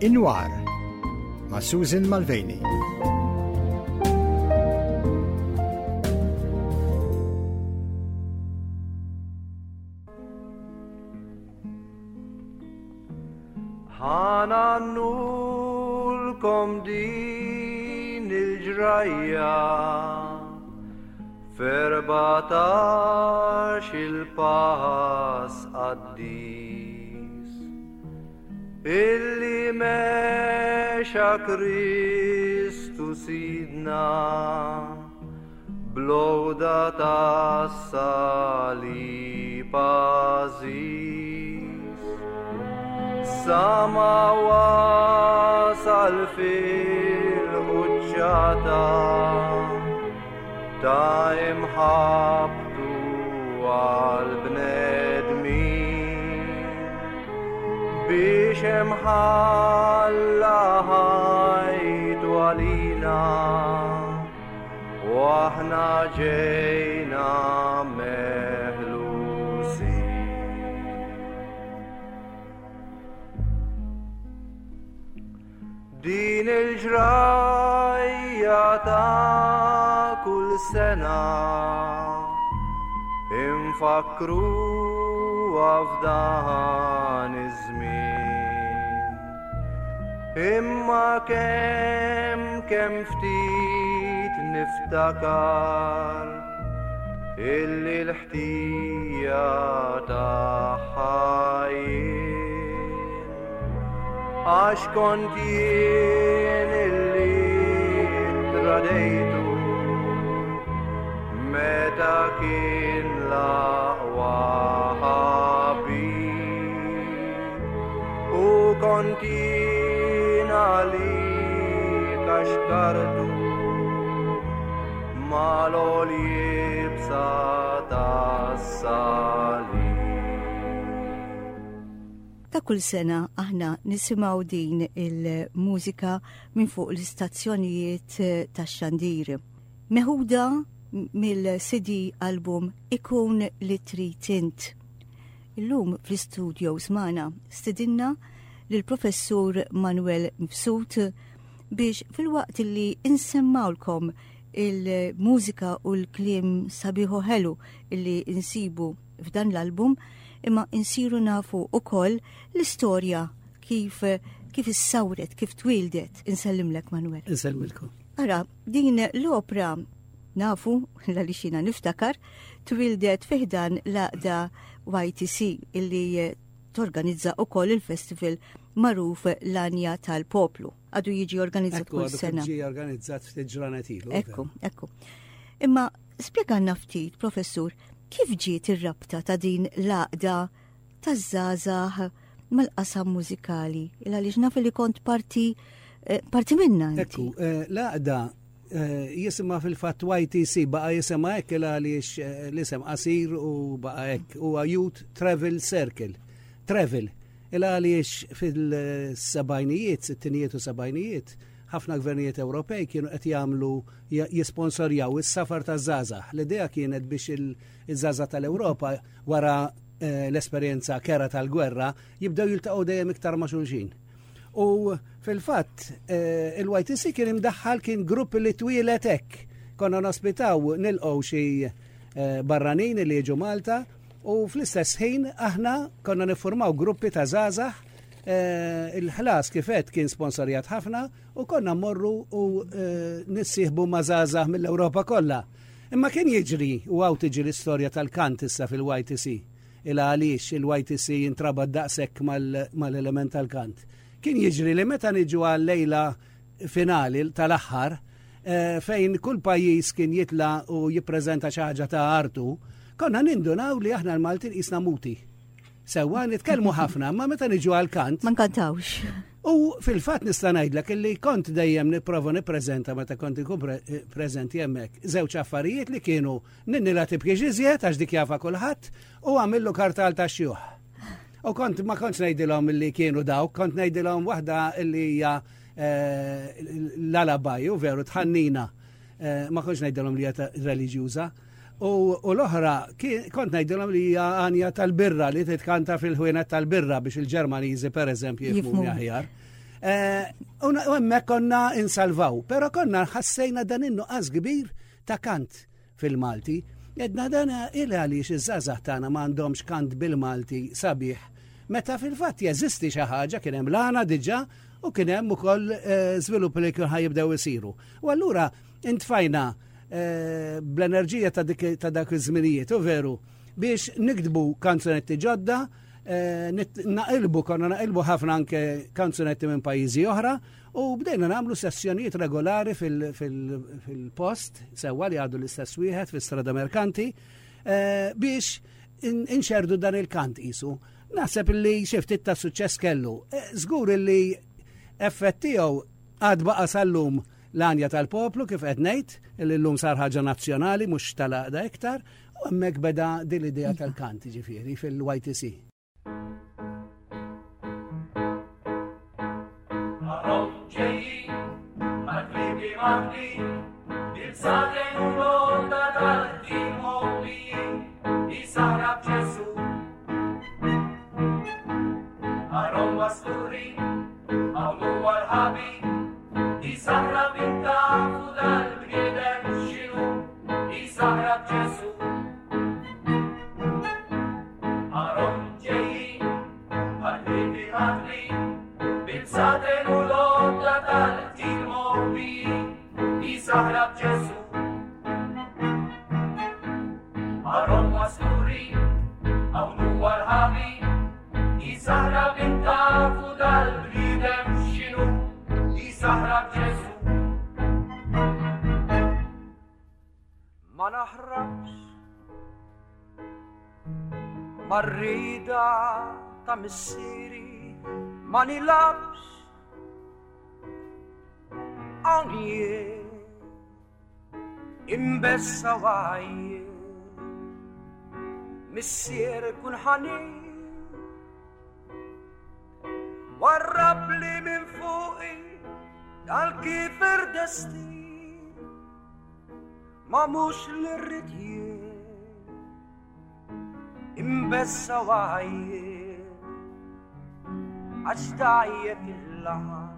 Inwar ma' Susan Malveni. Ħana nulkom din il-ġrajja ferbatax il-pass qaddis illi mexa Kristu sidna Bl-għoda tas-salib għażiż, Sa ma wasal fil-quċċata ta' imħabbtu għall-bnedmin, Biex hemm ħalla ħajtu għalina. U aħna ġejna meħlusin. Din il-ġrajja ta' kull sena infakru f'dan iż-żmien. Imma kemm kemm ftit niftakar illi l-ħtija tagħha jien. Għax kont jien illi tradejtu meta kien l-aqwa ħabib. U kont jien għalik għax kartu mal-għol-jibsa tas-salib. Ta' kull sena aħna nisimgħu din il-mużika minn fuq l-istazzjonijiet tax-xandir. Meħuda mill-CD album Ikun li trid int. Illum fl-istudios magħna stidinna lill-Professur Manuel Mifsud biex filwaqt li insemmawlkom il-mużika u l-kliem sabiħu ħelu li insibu f'dan l-album imma insiru nafu ukoll l-istorja kif kif issawret, kif twildet. Insellimlek Manuel. Insellmilkom. Ara, din l-opra Nafu, għaliex jiena niftakar, twildet fi ħdan l-għaqda YTC illi torganizza ukoll il-festival magħruf l-Anja tal-Poplu. Għadu jiġi organizzat kull sena. Ġi organizzat ftit ġranet ilu. Ekku, ekku. Imma spjegalna ftit, professur, kif ġiet ir-rabta ta' din l-għaqda taż-żgħażagħ mal-qasam mużikali? Il għaliex naf li kont parti eh, parti minna. Ekku, eh, l-għaqda eh, jisimha fil-fatt YTC baqa' jisimha hekk il għaliex l-isem qasir u baqa' hekk huwa Youth Travel Circle. Travel. Il għaliex fil-sebajnijiet, sittinijiet u sebajnijiet, ħafna gvernijiet Ewropej kienu qed jagħmlu jisponsorjaw is-safar taż-żgħażagħ. L-idea kienet biex il-żgħażagħ tal-Ewropa wara eh, l-esperjenza kera tal-gwerra jibdew jiltaqgħu dejjem iktar ma' xulxin. U fil-fatt eh, il-YTC kien imdaħħal kien grupp li twieled hekk. Konna nospitaw nilqgħu xi eh, barranin li jiġu Malta u fl-istess ħin aħna konna niffurmaw gruppi ta' żgħażagħ il-ħlas kifet kien sponsorjat ħafna u konna mmorru u nissieħbu ma' żgħażagħ mill-Ewropa kollha. Imma kien jiġri u hawn tiġi l-istorja tal-kant issa fil-YTC. Il għaliex il-YTC jintrabat daqshekk mal-element tal-kant. Kien jiġri li meta niġu għal-lejla finali tal-aħħar, eh, fejn kull pajjiż kien jitla u jippreżenta xi ħaġa ta' artu, konna nindunaw li aħna l-Maltin qisna muti. Sewwa nitkellmu ħafna, ma meta niġu għal-kant. Ma nkantawx. U fil-fatt nista' ngħidlek illi kont dejjem nipprova nippreżenta meta kont inkun eh, preżenti hemmhekk żewġ affarijiet li kienu ninni la tibkix iżjed għax dik jafa kulħadd u għamillu kartal ta' xjuħ. U kont ma kontx ngħidilhom li kienu dawk, kont ngħidilhom waħda li hija eh, l-alabaj, u veru tħannina. Eh, ma kontx ngħidilhom li hija reliġjuża. U l-oħra, kont ngħidilhom li hija għanja tal-birra li titkanta fil-ħwienet tal-birra biex il-Ġermaniżi pereżempju jifhmu aħjar. Eh, u hemmhekk konna insalvaw, però konna ħassejna dan in-nuqqas kbir ta' kant fil-Malti. Edna dan il għaliex iż-żgħażagħ tagħna m'għandhomx kant bil-Malti sabiħ. Meta fil-fatt jeżisti xi ħaġa kien hemm l-għana diġà u kien hemm ukoll eh, żviluppi li kien ħajibdew isiru. U allura intfajna eh, bl-enerġija ta' dak iż-żminijiet, u veru, biex niktbu kanzunetti ġodda, eh, naqilbu, konna naqilbu ħafna anke kanzunetti minn pajjiżi oħra, u bdejna nagħmlu sessjonijiet regolari fil-post, sewwa li għadu l-istess wieħed fis-Strada Merkanti, eh, biex inxerdu dan il-kant isu. Naħseb li xi ftit ta' suċċess kellu. Żgur li effett tiegħu għad baqa' sal-lum L-għanja tal-poplu kif qed ngħid, li llum sar ħaġa nazzjonali mhux tal-għaqda iktar, u hemmhekk beda din l-idea tal-kant ġifieri fil-YTC. Ma naħrabx marrida ta' missieri ma nilabx hawn jien imbessa wajjien missier kun ħanin warrab li minn fuqi dal-kifer destin ma mhux li rrid jien imbessa wajjien għax dajjeb il-laħam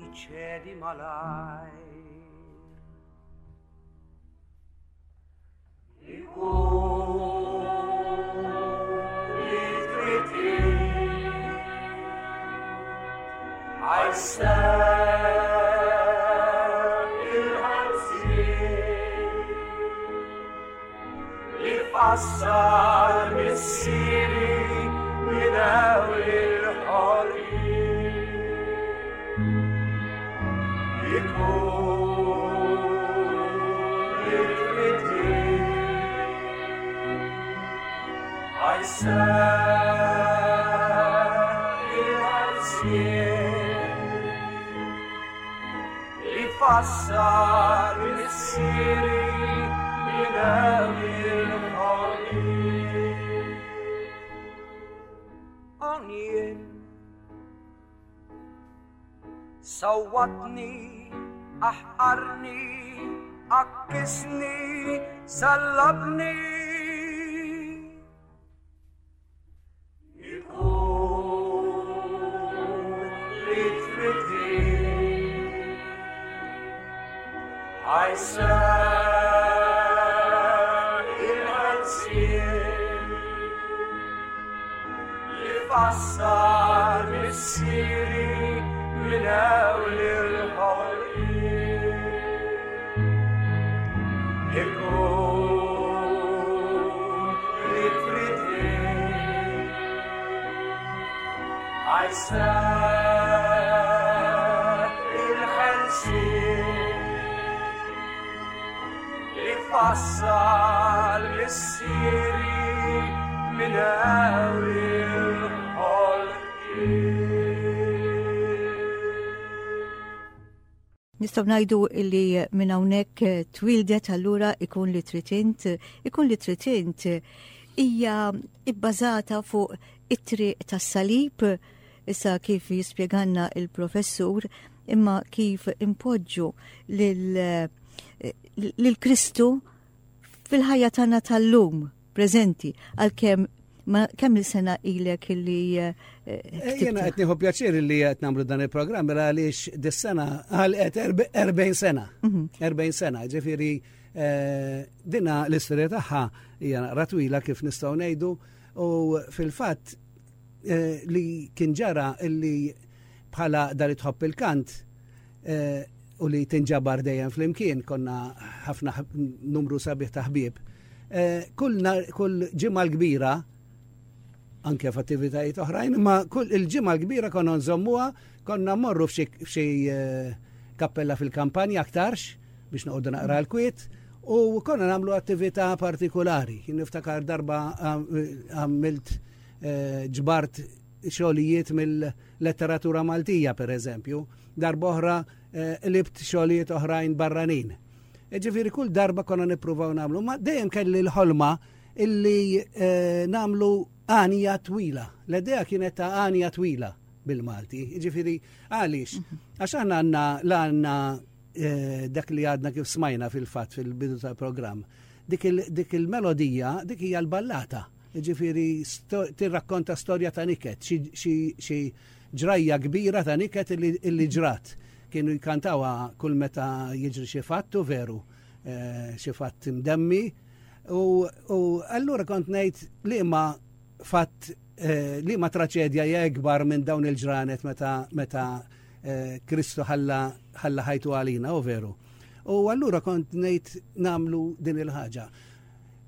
jiċedi malajr. Ikun li trid li fassal missieri minn hawn il-ħolqien. Ikun li trid Li fassal missieri minn hawn il-ħolqien. Hawn Sawwatni, aħqarni, għakkisni, sallabni. Ikun li trid ħajseħħ il-ħelsien li fassal missieri minn hawn il-ħolqien. Ikun li trid ħajseħħ il-ħelsien li fassal missieri minn hawn il-ħolqien. Nistgħu ngħidu li minn hawnhekk twildet allura ikun li trid int, ikun li trid int hija bbażata fuq it-triq tas-salib, issa kif jispjeganna il-professur, imma kif impoġġu lil Kristu fil-ħajja tagħna tal-lum preżenti għalkemm Ma kemm il-sena ilek illi eh, eh, Jiena qed nieħu pjaċir li qed nagħmlu dan il-programm mela għaliex dis-sena għalqet 40 sena. 40 mhm. sena, ġifieri eh, dina l-istorja tagħha hija naqra twila kif nistgħu ngħidu u fil-fatt li kien ġara illi bħala dar tħobb il-kant u li tinġabar dejjem flimkien konna ħafna numru sabiħ ta' ħbieb. Eh, kull kull ġimgħa l-kbira anke f'attivitajiet oħrajn, imma kull il-ġimgħa l-kbira konna nżommuha, konna mmorru f'xi eh, kappella fil-kampanja aktarx biex noqogħdu naqra l-kwiet u konna nagħmlu attività partikolari. Niftakar darba għamilt eh, ġbart xogħlijiet mill-letteratura Maltija, per eżempju, darba oħra eh, libt xogħlijiet oħrajn barranin. E ġifieri kull darba konna nippruvaw nagħmlu, ma dejjem kelli l-ħolma illi eh, nagħmlu għanja twila. L-idea kienet ta' għanja twila bil-Malti. Ġifieri għaliex? Mhm. Għax aħna għandna l-għandna eh, dak li għadna kif smajna fil-fatt fil-bidu tal-programm. Dik il-melodija, dik hija l-ballata. Ġifieri tirrakkonta storja ta' niket, xi ġrajja kbira ta' niket illi ġrat. Kienu jkantawha kull meta jiġri xi fatt u veru, eh, xi fatt imdemmi. U allura kont ngħid li ma fatt eh, li ma traċedja hija ikbar minn dawn il-ġranet meta meta eh, Kristu ħalla ħajtu għalina, u veru. U allura kont ngħid namlu din il-ħaġa.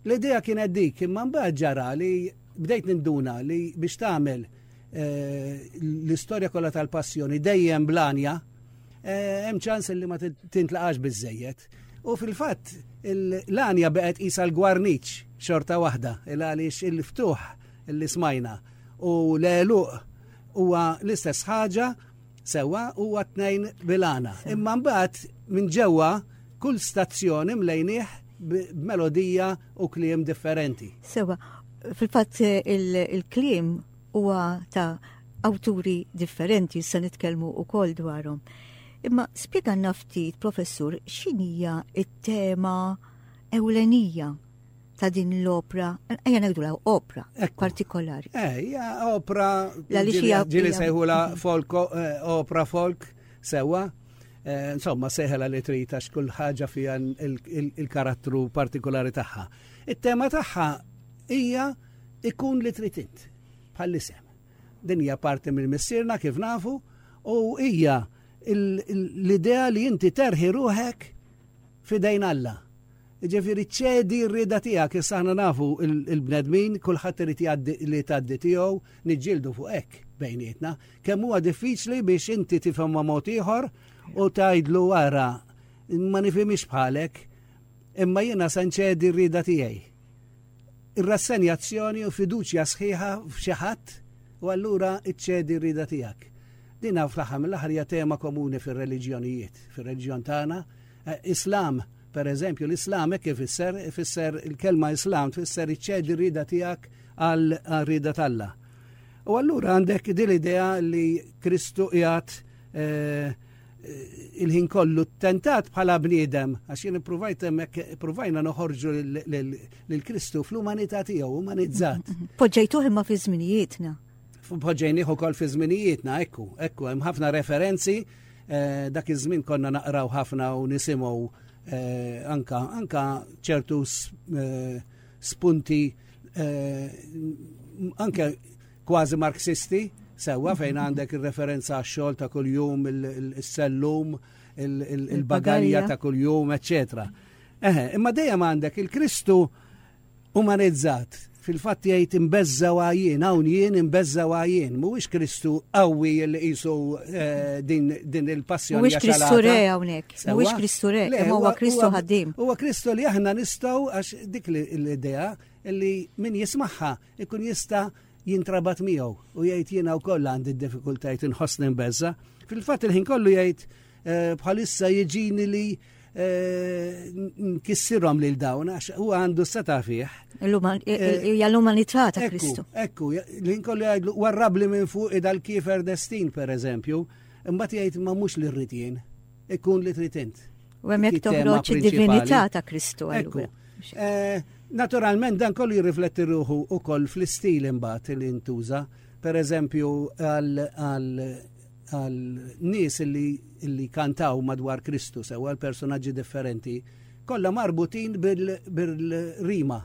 L-idea kienet dik, imma mbagħad ġara li bdejt ninduna li biex tagħmel eh, l-istorja kollha tal-passjoni dejjem blanja, eh, hemm ċans li ma tintlaqax biżejjed. U fil-fatt l-għanja beqgħet qisha l-gwarniċ xorta waħda, il għaliex il-ftuħ li smajna u l-għeluq huwa l-istess ħaġa Sewwa huwa tnejn bil-għana. Imma mbagħad minn ġewwa kull stazzjon imlejnieh b'melodija u kliem differenti. Sewwa, fil-fatt il-kliem huwa ta' awturi differenti se nitkellmu wkoll dwarhom. Imma spjegalna ftit, professur, x'inhija t-tema ewlenija ta' din l-opra, ejja ngħidu opra partikolari. Eh, hija opra ġieli sejħula folk, eh, opra folk, sewa. Eh, insomma, seħela li trid għax kull ħaġa fiha il-karattru partikolari tagħha. It-tema tagħha hija ikun li trid int bħall-isem. Din hija parti minn missierna kif nafu u hija l-idea li inti terħi ruħek fidejn Alla. Jiġifieri ċedi r-rieda tiegħek, issa aħna nafu il-bnedmin kulħadd irid jgħaddi li tgħaddi tiegħu, niġġieldu fuq hekk bejnietna. Kemm huwa diffiċli biex inti tifhem ma' mod ieħor u tgħidlu ara ma nifhimix bħalek, imma jiena se nċedi r-rieda tiegħi. Ir-rassenjazzjoni u fiduċja sħiħa f'xi ħadd u allura ċċedi r-rieda tiegħek. Dina fl-aħħar mill-aħħar hija tema komuni fir-reliġjonijiet, fir-reliġjon tagħna, eh, Islam Per eżempju, l-Islam hekk ifisser, ifisser il-kelma Islam tfisser iċċedi r-rieda tiegħek għal rieda t'Alla. U allura għandek din l-idea li Kristu qiegħed eh, il-ħin kollu tentat bħala bniedem, għax jien ippruvajt hemmhekk ippruvajna noħorġu lil Kristu fl-umanità tiegħu, umanizzat. Poġġejtuh imma fi żminijietna. Poġġejnih ukoll fi żminijietna, ekku, ekku, hemm ħafna referenzi Eh, dak iż-żmien konna naqraw ħafna u nisimgħu eh, anka anka ċertu eh, spunti anke kważi marxisti sewwa fejn mhm. għandek ir-referenza għax-xogħol ta' kuljum, il-sellum, il-bagalja ta' kuljum, eċċetera. Eħe, imma dejjem għandek il-Kristu Umanizzat, fil-fatt jgħid imbeżża' u għajjien, hawn jien imbeżża' u għajjien, mhuwiex Kristu qawwi li qisu eh, din, din il-passjoni. Mhuwiex Kristu re hawnhekk, mhuwiex Kristu re, imma huwa Kristu ħaddiem. Huwa Kristu li aħna nistgħu għax dik l-idea li min jismagħha ikun jista' jintrabat miegħu u jgħid jiena wkoll għandi d-diffikultajiet inħossni mbeżża. Fil-fatt il-ħin kollu jgħid eh, bħalissa jiġini li eh, nkissirhom lil dawn għax huwa għandu seta' fih. Eh, hija l-umanità ta' Kristu. Ekku, li nkollu jgħidlu warrabli minn fuq dal-kiefer destin per eżempju, imbagħad jgħid ma mhux li rrid jien, ikun li trid int. U hemmhekk toħroġ id-divinità ta' Kristu. Ekku. Eh, naturalment dan kollu jirrifletti ruħu ukoll fl-istil imbagħad li ntuża. Per eżempju, għal nies li, li kantaw madwar Kristu sew għal personaġġi differenti, kollha marbutin bil-rima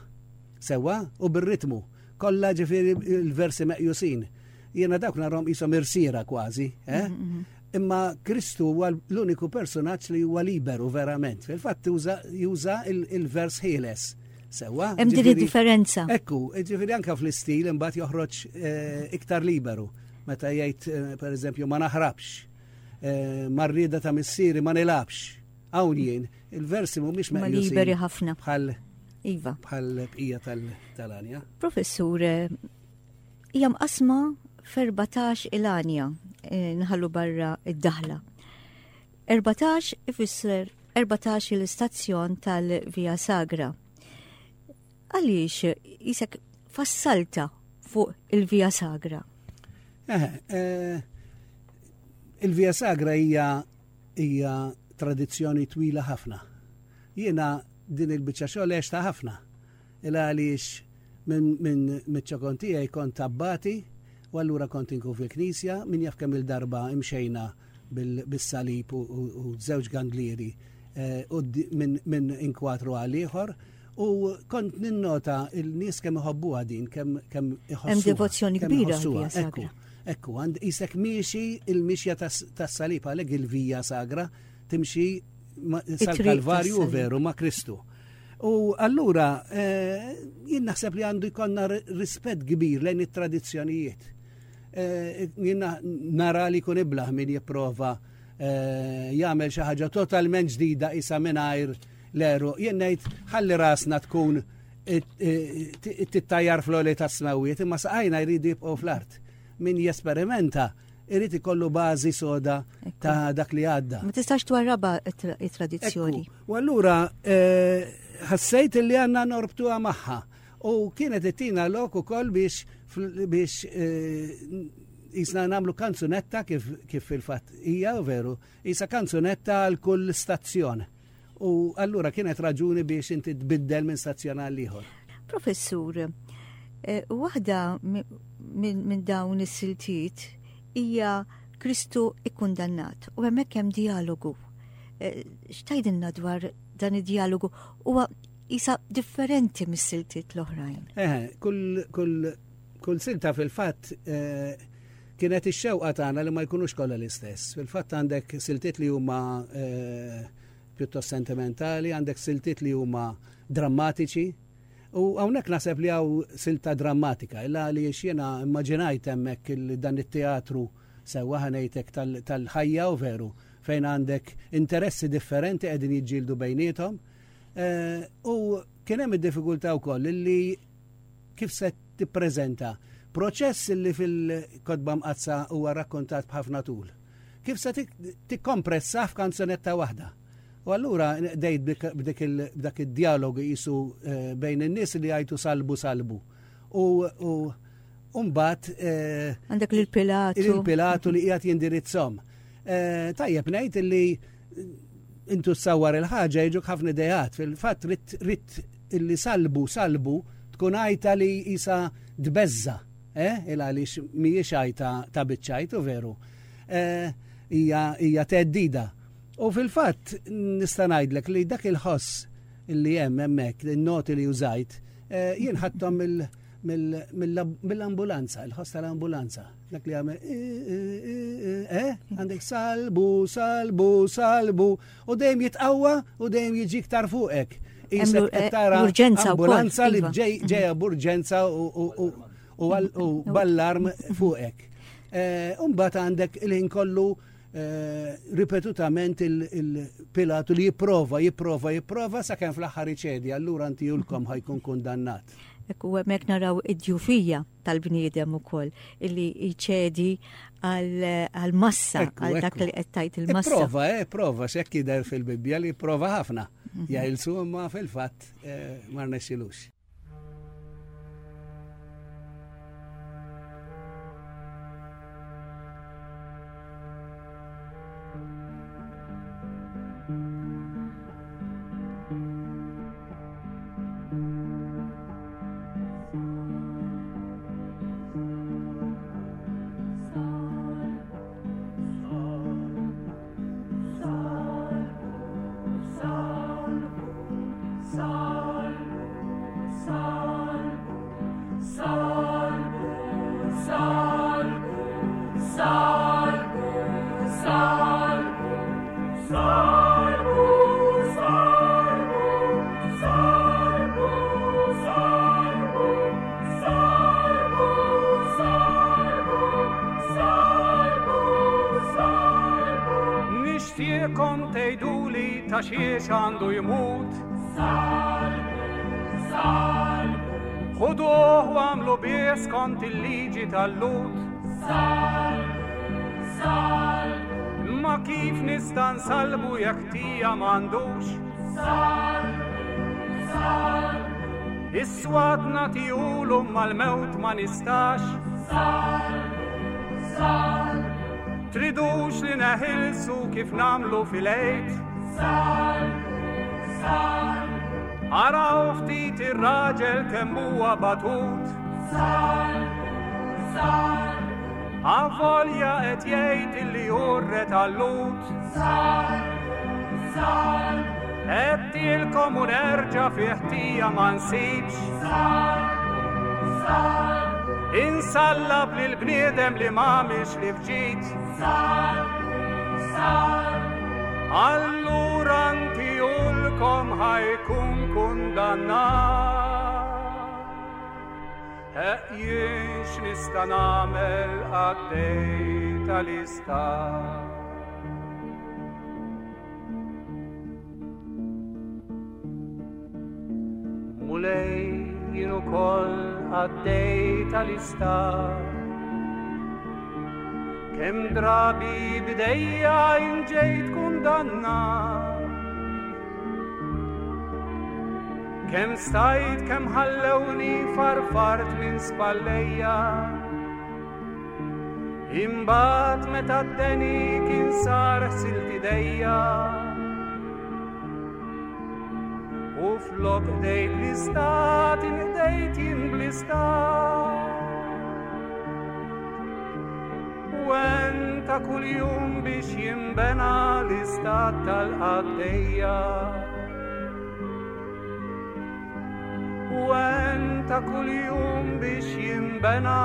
sewwa u bir-ritmu. Kollha ġifieri l-versi meqjusin. Jiena dawk narhom qishom irsiera kważi, eh? Mm -hmm. Imma Kristu huwa l-uniku personaġġ li huwa liberu verament. Fil-fatt juża il-vers ħieles. Sewa. Hemm din id-differenza. Ekku, ġifieri anke fl-istil imbagħad joħroġ eh, iktar liberu. Meta jgħid eh, pereżempju ma naħrabx, eh, marrieda ta' missieri ma nilabx. Hawn jien, il-versi mhumiex meqjusin. liberi ħafna. Bħal Iva. Bħal bqija tal-anja. Professur, Hija mqassma f'14 il-għanja, eh, nħallu barra id-daħla. 14 ifisser 14 il-istazzjon tal-Via Sagra. Għaliex jisek fassalta fuq il-Via Sagra? Eh, eh, il-Via Sagra hija hija tradizzjoni twila ħafna. Jiena din il-biċċa xogħol għexta ħafna. Il għaliex minn miċ-ċokon tiegħi kont abbati u allura kont inkun fil-knisja, min jaf kemm il-darba imxejna bis-salib u żewġ ganglieri eh, minn inkwatru għal ieħor. U kont ninnota il-nies kemm iħobbuha din, kemm kemm iħossuha. Hemm devozzjoni kbira. Ekku, ekku, għand isek miexi il-mixja tas-salib għalhekk il-vija sagra timxi sal-Kalvarju veru ma' Kristu. U allura eh, jien naħseb li għandu jkollna rispett kbir lejn it-tradizzjonijiet. Eh, jien nara li jkun iblaħ min jipprova eh, jagħmel xi ħaġa totalment ġdida isa mingħajr l-eru. Jien ngħid ħalli rasna tkun tittajjar fl-oli tas-smawiet, imma saqajna jridu jibqgħu fl-art. Min jesperimenta irid ikollu bażi soda ta' dak li għadda. Ma tistax twarraba it-tradizzjoni. U allura eh, ħassejt li għandna norbtuha magħha. U kienet ittina lok ukoll biex biex eh, jisna namlu kanzunetta kif, kif fil-fatt hija veru, jisa kanzunetta għal kull stazzjon. U allura kienet raġuni biex inti tbiddel minn stazzjon għal ieħor. Professur, eh, waħda minn dawn is-siltiet hija Kristu ikkundannat u hemmhekk hemm dialogu. Eh, x'tajdilna dwar dan id-dialogu huwa isa differenti mis-siltiet l-oħrajn. Eh, kull, kull, kull silta fil-fatt eh, kienet ix-xewqa tagħna li ma jkunux kollha l-istess. Fil-fatt għandek siltiet li huma eh, pjuttost sentimentali, għandek siltiet li huma drammatiċi. U hawnhekk naħseb li hawn silta drammatika, illa li jiena immaġinajt hemmhekk dan it-teatru sewwa ħanejtek tal-ħajja u veru fejn għandek interessi differenti qegħdin jiġġieldu bejniethom. Eh, u kien hemm id-diffikultà wkoll li kif se tippreżenta proċess li fil-Kotba Mqaddsa huwa rakkontat b'ħafna tul. Kif se tikkompressa f'kanzunetta waħda? U allura dejt b'dak id-dialogu jisu eh, bejn in-nies li jgħidu salbu salbu. U mbagħad eh, għandek lil Pilatu. Il-Pilatu li qiegħed jindirizzhom. Eh, tajjeb ngħid li intu ssawwar il-ħaġa jiġuk ħafna ideat. Fil-fatt rit illi salbu salbu tkun għajta li jisa tbeżza, eh? Il għaliex mhijiex għajta ta' biċċajtu veru. Eh, hija teddida. U fil-fatt nista' ngħidlek li dak il-ħoss li hemm hemmhekk, in-noti li użajt, eh, jien ħadthom mill-ambulanza, il-ħoss tal-ambulanza. Dak li għamel, eh, għandek salbu, salbu, salbu, u dejjem jitqawwa u dejjem jiġi iktar fuqek. Isek eh, tara ambulanza li iva. ġejja b'urġenza u ballarm fuqek. Eh, Umbat għandek il-ħin kollu eh, ripetutament il-Pilatu li jipprova, jipprova, jipprova sakemm fl-aħħar iċedi, allura inti julkom ħajkun kundannat. Ekku hemmhekk naraw id-djufija tal-bniedem ukoll illi jċedi għal-massa, għal dak li qed tgħid il-massa. Prova, eh, prova, x'hekk jidher fil-Bibbja li prova ħafna. Mhm. Jgħilsu imma fil-fatt eh, ma rnexxilux. ta' xiex għandu jmut. Salbu, salbu. Ħuduh u għamlu bih skont il-liġi tal-Lhud. Salbu, salbu. Imma kif nista' nsallbu jekk ħtija m'għandux? Salbu, salbu. Is-swat nagħtihulu imma l-mewt ma nistax. Salbu, salbu. Tridux li neħilsu kif nagħmlu fil-Għid? Salbu, salbu. Araw ftit ir-raġel kemm huwa batut. Salbu, salbu. Avolja qed jgħid illi hu r-re tal-Lhud. Salbu, salbu. Għedtilkom u nerġa' fi ħtija ma nsibx. Salbu, salbu. Insallab lil bniedem li m'għamilx li fġid. Salbu, salbu. Allura ntihulkom ħa jkun kundannat. Heq jien x'nista' nagħmel qaddej tal-istat. Mulej jien ukoll qaddej tal-istat. Kemm drabi b'idejja jien ġejt kundannat. Kemm stajt kemm ħallewni farfart minn spallejja. Imbagħad meta d-deni kien sar ħsilt idejja. U flok qdejt l-istat inqdejt jien bl-istat. U għen ta' kuljum biex jinbena l-istat tal-qaddejja. U għen ta' kuljum biex jinbena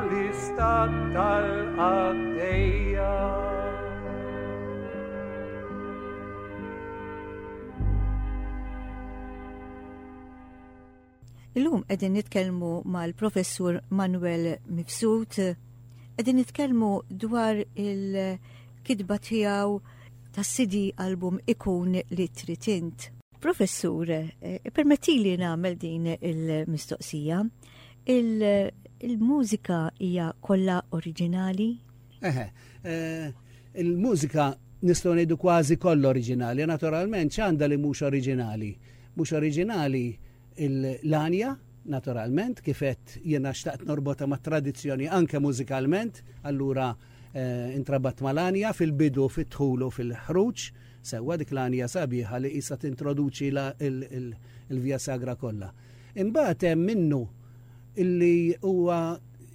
l-istat tal-qaddejja. Illum qegħdin nitkellmu mal-Professur Manuel Mifsud, qegħdin nitkellmu dwar il-kitba tiegħu tas-CD album Ikun li trid int. Professur, eh, permettili nagħmel din il-mistoqsija. Il-mużika hija kollha oriġinali? Eħe, eh, il-mużika nistgħu ngħidu kważi kollha oriġinali, naturalment x'għandha li mhux oriġinali. Mhux oriġinali l-għanja, naturalment, kif għedt jiena xtaqt norbotha mat-tradizzjoni anke mużikalment, allura eh, intrabat mal-għanja fil-bidu, fid-dħul u fil-ħruġ, sewwa dik l-għanja sabiħa li qisha tintroduċi il-Via Sagra kollha. Imbagħad hemm minnu illi huwa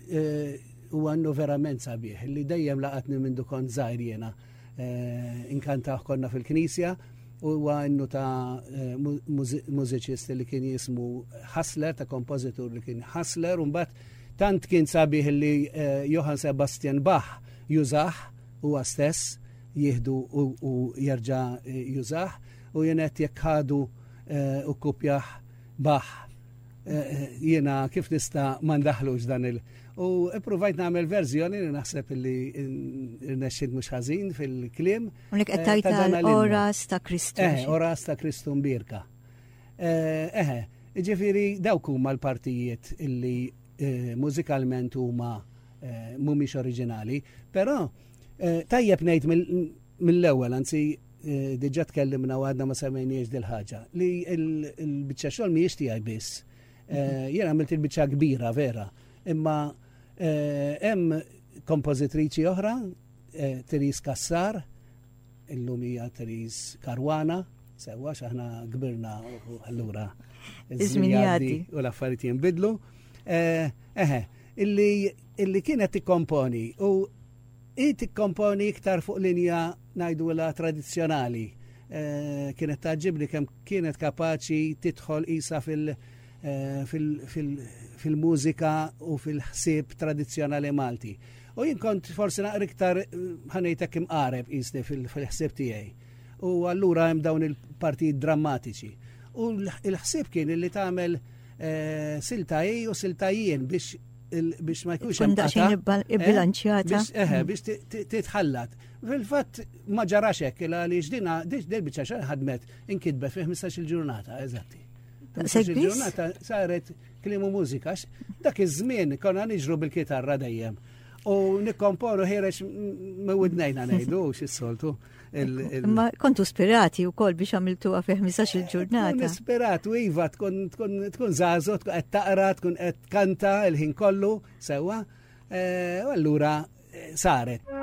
eh, huwa innu verament sabiħ, illi dejjem laqatni minn kont żgħir jiena. Eh, inkantah konna fil-knisja u huwa innu ta' eh, mużiċist li kien jismu Hassler, ta' kompożitur li kien Hassler, u mbagħad tant kien sabiħ li eh, Johann Sebastian Bach jużah huwa stess jieħdu u jerġa' jużah u jien jekk ħadu u kopjah Bach jiena kif nista' ma ndaħlux dan il- U ippruvajt nagħmel verżjoni li naħseb li rnexxiet mhux ħażin fil-kliem. Unek qed eh, tajta oras ta' Kristu. Eh, oras ta' Kristu mbirka. Eh, eħe, ġifieri dawk huma l-partijiet illi eh, mużikalment huma mhumiex oriġinali, però tajjeb ngħid mill-ewwel, anzi diġà tkellimna u għadna ma semmejniex dil-ħaġa, li l-biċċa xogħol mhijiex tiegħi biss. Eh, jien għamilt il-biċċa kbira vera, imma eh, hemm kompożitriċi oħra, eh, Therese Kassar, illum hija Therese Caruana, sewwa x'aħna kbirna u allura iż-żmien jgħaddi u l-affarijiet jinbidlu. Eħe, illi kienet tikkomponi u hi tikkomponi iktar fuq linja ngħidulha tradizzjonali. Kienet tgħaġġibni kemm kienet kapaċi tidħol qisha fil- fil-mużika u fil-ħsieb tradizzjonali Malti. U jien kont forsi naqra iktar ħanejtek imqareb qisni fil-ħsieb tiegħi. U allura hemm dawn il-partijiet drammatiċi. U l-ħsieb kien li tagħmel eh, silta hi u silta jien biex biex ma jkunx hemm daqsxejn eh, ibbilanċjata. Eħe, biex titħallat. Fil-fatt ma ġarax hekk il għaliex dina din biċċa xogħol ħadmet inkitbet fi 15-il ġurnata, eżatti. 15-il ġurnata saret kliem u mużika. Dak iż-żmien konna niġru bil-kitarra dejjem. U nikkomponu ħireġ mewidnejna ngħidu x'is-soltu. Imma kontu spirati u kol biex għamiltu fi 15 il-ġurnata. Spirat u iva tkun tkun żagħżugħ, tkun qed taqra, tkun qed kanta il-ħin kollu sewwa. Eh, u allura eh, saret.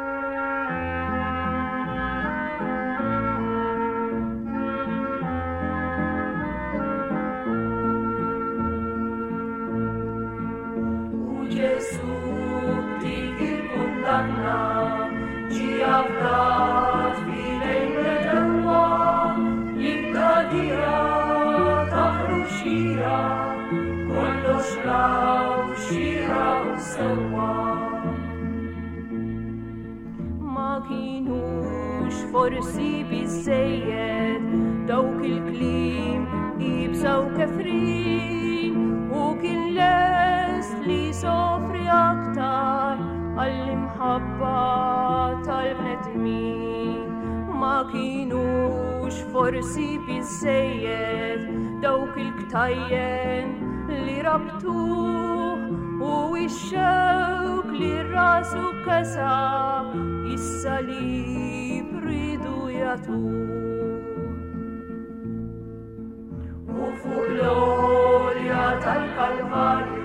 Forsi biżejjed dawk il-kliem ibsa u kefrin u kien lest li sofri aktar għall-imħabba tal-bnedmin. Ma kienux forsi biżejjed dawk il-ktajjen li rabtuh u x-xewk li rasu kesa is-salib ridu jagħtuh. U fuq l-għolja tal-Kalvarju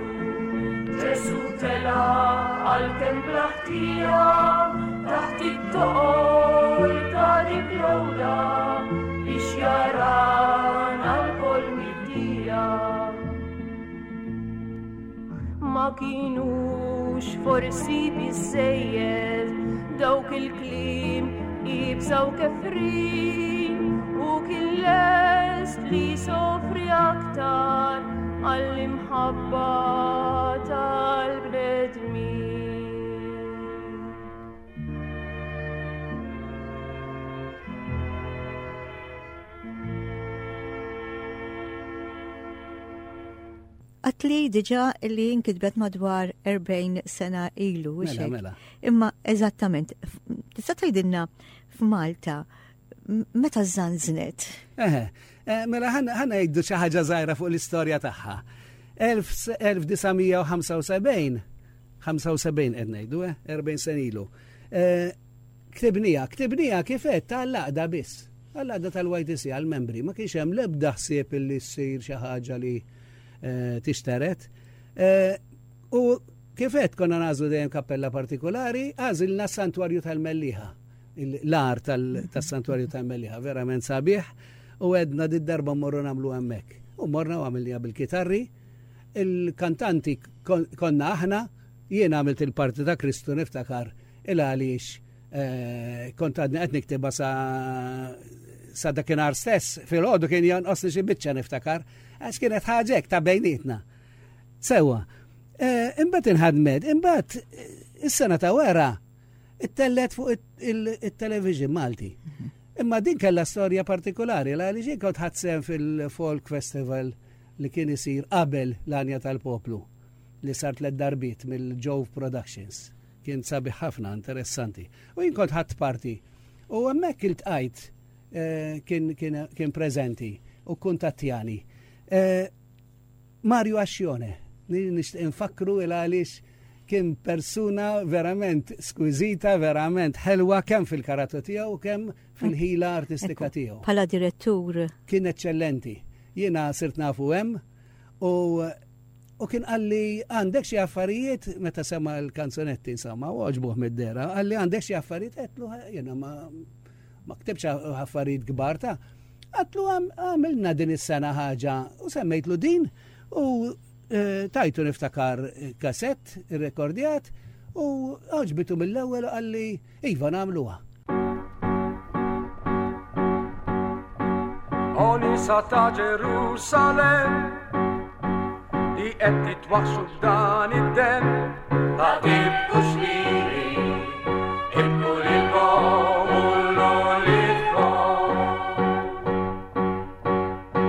Ġesu tela għalkemm bla ħtija taħt it-toqol ta' dik l-għoda biex jarana lkoll mibdija. Ma kienux forsi biżejjed dawk il-kliem ibsa u kefrin u kien lest li sofri aktar għall-imħabba tal-bnedmin. Għatli diġa li nkitbet madwar 40 sena ilu. Mela, mela. Imma eżattament, tista' tgħidilna f'Malta meta żanżnet? Eħe, eh, mela ħana jgħidu xi ħaġa żgħira fuq l-istorja tagħha. 1975, 75 qed ngħidu, 40 eh, sena ilu. Eh, ktibnija, ktibnija kif qed tal-laqda biss. Għall-għaqda tal-YTC għall-membri ma kienx hemm l-ebda ħsieb illi ssir xi ħaġa li eh, tixteret. Eh, u kif qed konna nażlu dejjem kappella partikolari, għażilna s-Santwarju tal-Melliħa, l-ar tas-Santwarju tal-Melliħa, verament sabiħ, u għedna did-darba morru nagħmlu hemmhekk. U morna u għamilniha bil-kitarri, il-kantanti konna aħna, jien għamilt il-parti ta' Kristu niftakar il għaliex Eh, kont għadni qed niktibha sa sa dakinhar stess, fil-ħodu kien jonqosni xi biċċa niftakar, għax kienet ħaġek ta' bejnietna. Sewa, eh, imbagħad inħadmet, imbagħad eh, is-sena ta' wara ittellet fuq il-television Malti. Mhm. Imma din kellha storja partikolari, għaliex jien kont ħadd fil-Folk Festival li kien isir qabel l-Anja tal-Poplu li sar tliet darbiet mill-Jove Productions. Kien sabiħ ħafna, interessanti. U jien kont ħadt parti. U hemmhekk iltqajt eh, kien, kien, kien preżenti u kuntattjani. Eh, Mario Ascione, nixtieq infakru il għaliex kien persuna verament skwizita, verament ħelwa kemm fil-karattu tiegħu u kemm fil-ħila artistika tiegħu. Bħala direttur. Kien eċċellenti. Jiena sirt nafu hemm u U kien qalli għandek xi affarijiet meta sema l-kanzunetti insomma, u għoġbuh mid-dera, qalli għandek xi affarijiet għedtlu jiena ma ma ktibx affarijiet kbar ta' għatlu għamilna din is-sena ħaġa u semmejtlu din u eh, tajtu niftakar kasett irrekordjat u għoġbitu mill-ewwel u qalli iva nagħmluha. O nisa ta' Ġerusalemm li qed titwaħxu b'dan id-demm, la tibkux lili, ibku lilkom u l-uliedkom.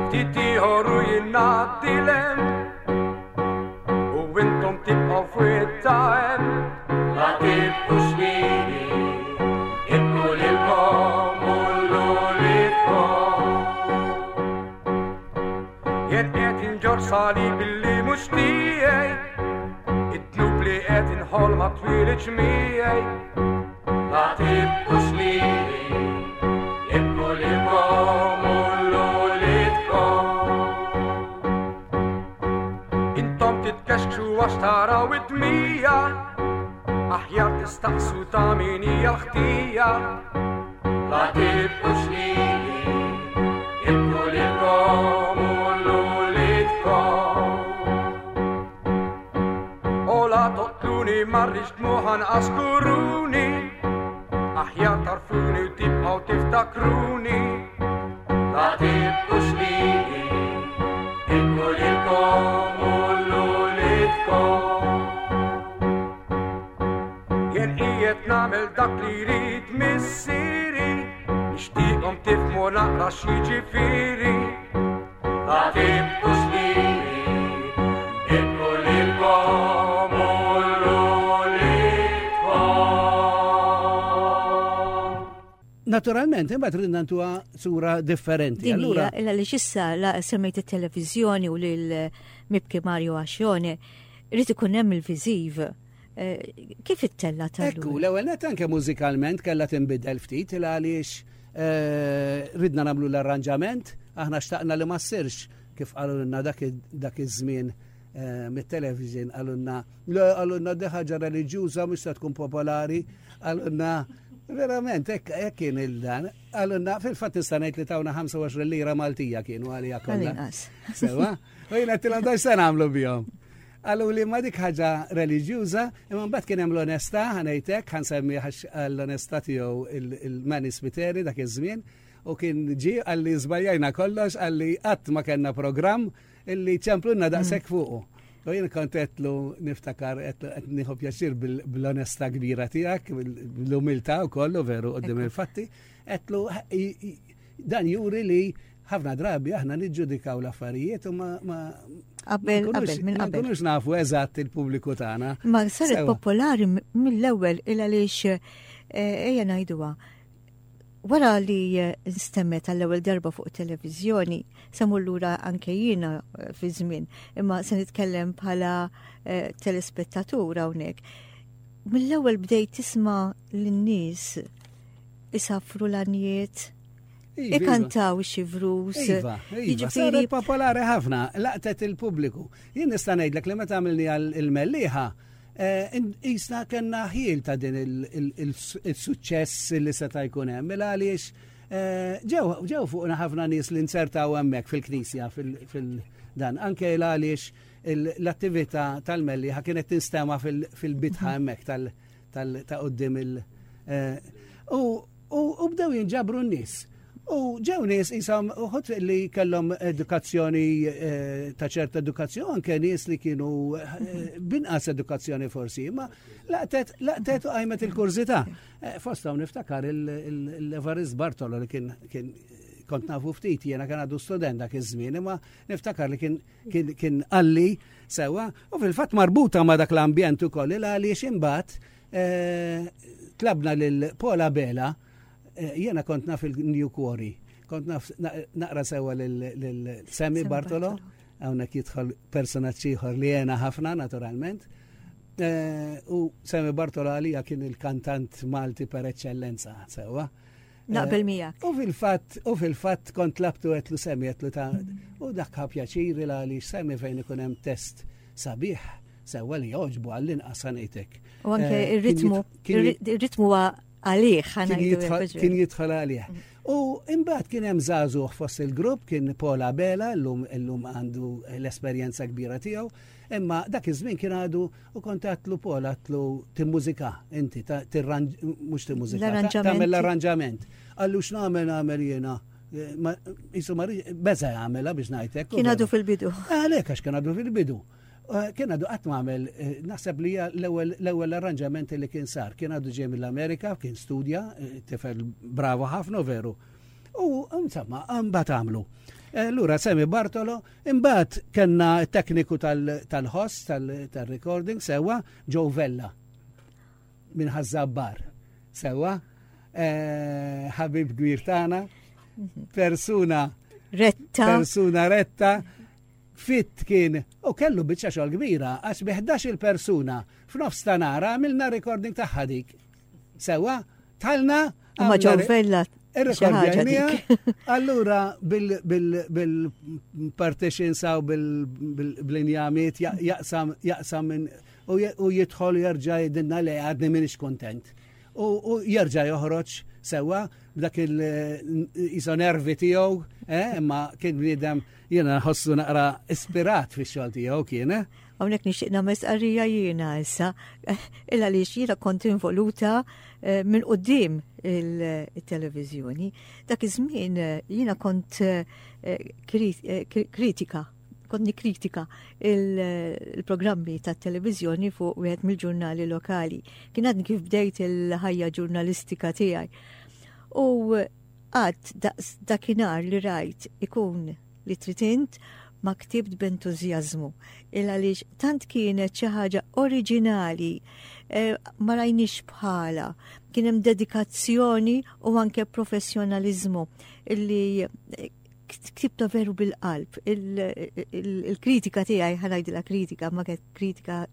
Ftit ieħor u jien ngħaddi 'l hemm, u intom tibqgħu fwitta hemm. La tibkux lili, ibku. Jien qed inġorr salib illi mhux tiegħi, id-dnub li qed inħoll ma twilidx miegħi. La tibkux lili, ibku lilkom u l-uliedkom. Intom titkexkxu għax taraw id-dmija, aħjar tistaqsu ta' min hija l-ħtija. La tibkux lili, ibku lilkom u l-uliedkom. O la toqtluni ma rridx dmugħ anqas kuruni, aħjar tarfuni u tibqgħu tiftakruni. La tibkux lili, ibku lilkom u l-uliedkom. Jien qiegħed nagħmel dak li jrid missieri, nixtieqhom tifhmu naqra x'jiġifieri. La tibkux lili, ibku lilkom u l-uliedkom. Naturalment, imbagħad ridna ntuha sura differenti. Din hija illa li xissa la semmejt it-televiżjoni u lil Mibki Mario Ascione, irid ikun hemm il-viżiv. Kif ittella tal Ekku, l-ewwel net anke mużikalment kellha tinbidel ftit il għaliex ridna nagħmlu l-arranġament, aħna xtaqna li ma ssirx kif qalulna dak iż-żmien mit-television, qalulna, le, qalulna di ħaġa reliġjuża mhux se tkun popolari, qalulna verament hekk kien il-dan, qalulna fil-fatt nista' ngħid li tawna 25 lira Maltija kienu għalija kollha. Għal-inqas. Sewa, u jiena għedtilhom dan x'se nagħmlu bihom. Qalu li ma dik ħaġa reliġjuża, imma mbagħad kien hemm l-onestà, ħanejtek, ħansemmi għax l-onestà tiegħu il-Manny Spiteri dak iż-żmien, u kien ġie qalli żbajjajna kollox, qalli qatt ma kellna programm illi ċemplunna daqshekk fuqu. U jien kont għedtlu niftakar, għedtlu qed nieħu pjaċir bl-onestà kbira tiegħek, bl-umiltà wkoll, u veru qudiem il-fatti, għedtlu dan juri li ħafna drabi aħna niġġudikaw l-affarijiet u ma Qabel, qabel, minn ma qabel. nkunux nafu eżatt il-pubbliku tagħna. Ma saret Sewa. popolari mill-ewwel il għaliex ejja ngħiduha. Wara li nstemmet għall-ewwel darba fuq televiżjoni, se mmur lura anke jiena fi żmien, imma se nitkellem bħala telespettatur hawnhekk. Mill-ewwel bdejt tisma' lin-nies isafru l-għanjiet, ikantaw xi vrus. Iva, iva, Jiġifieri saret popolari ħafna, laqtet il-pubbliku. Jien nista' ngħidlek li meta għamilni għal il-Mellieħa jisna kellna ħiel ta' din il-suċċess li seta' jkun hemm, mela għaliex ġew fuqna ħafna nies li nsertaw hemmhekk fil-knisja fil-dan, anke għaliex l-attività tal-Mellieħa kienet tinstema' fil-bitħa hemmhekk ta' quddiem il- u bdew jinġabru n-nies. U ġew nies jisom uħud li kellhom edukazzjoni ta' ċerta edukazzjoni, anke nies li kienu binqas edukazzjoni forsi, imma laqtet u qajmet il-kurżità. Fost hawn niftakar l-Evarist Bartolo li kien kont nafu ftit, jiena kien għadu student dak iż-żmien, imma niftakar li kien qalli sewa, u fil-fatt marbuta ma' dak l-ambjent ukoll, il għaliex imbagħad tlabna lil Paul Abela, jiena kont naf il-New Quarry, kont naf naqra sewa lil Sammy Sammy Bartolo, Bartolo. hawnhekk jidħol personaġġ ieħor li jena ħafna naturalment. U Sammy Bartolo għalija kien il-kantant Malti per eccellenza, sewa. Naqbel miegħek. U fil-fatt kont labtu għetlu Sammy, għetlu ta' u dak ħa pjaċiri l għaliex Sammy fejn ikun hemm test sabiħ, sewa li joġbu għall-inqas ngħidlek. U anke ir-ritmu huwa għalih, ħa ngħidu hekk, Kien jidħol għalih. U imbagħad kien hemm żagħżugħ fost il-grupp, kien Paul Abela, illum għandu l-esperjenza kbira tiegħu, imma dak iż-żmien kien għadu u kont għatlu Paul, għatlu timmużika, inti mhux timmużika, L-arranġament. tagħmel l-arranġament. Qallu x'nagħmel nagħmel jiena. Ma, jisu ma rridx, beża jagħmilha biex ngħidlek, u Kien għadu veru. fil-bidu. Għalhekk għax kien għadu fil-bidu. Kien għadu qatt ma għamel, naħseb li hija l-ewwel arranġament li kien sar. Kien għadu ġej mill-Amerika, kien studja, tifel bravo ħafna veru. U insomma, mbagħad għamlu. Lura Sammy Bartolo, imbagħad kellna tekniku tal-ħoss, tal-recording, sewa Joe Vella minn Ħaż-Żabbar. Sewa, ħabib kbir tagħna, persuna retta. Persuna retta. Fit kien u kellu biċċa xogħol kbira għax bi 11-il persuna f'nofs ta' nhar għamilna recording tagħha dik. Sewwa, tħallna. Ma ġew Vella Irrekordjajnija. Allura bil-partition saw bil-injamiet jaqsam jaqsam minn u jidħol jerġa' jgħidilna le għadni minix kontent. U jerġa' joħroġ sewwa b'dak il-iso nervi tiegħu, eh, imma kien bniedem Jiena nħossu naqra ispirat fix-xogħol tiegħu kien, eh? Hawnhekk nixtieq nagħmel stqarrija jiena issa, il għaliex jiena kont involuta eh, minn quddiem il-televiżjoni. Dak iż-żmien eh, jiena kont eh, kritika kont nikkritika il-programmi tat televiżjoni fuq wieħed mill-ġurnali lokali. Kien għadni kif bdejt il-ħajja ġurnalistika tiegħi. U Qatt daqs dakinhar li rajt ikun li trid int ma ktibt b'entużjażmu. Il għaliex tant kienet xi ħaġa oriġinali, eh, ma rajniex bħala. Kien hemm dedikazzjoni u anke professjonaliżmu illi eh, ktibta veru bil-qalb. Il-kritika tiegħi ħanajdilha kritika, ma kienet kritika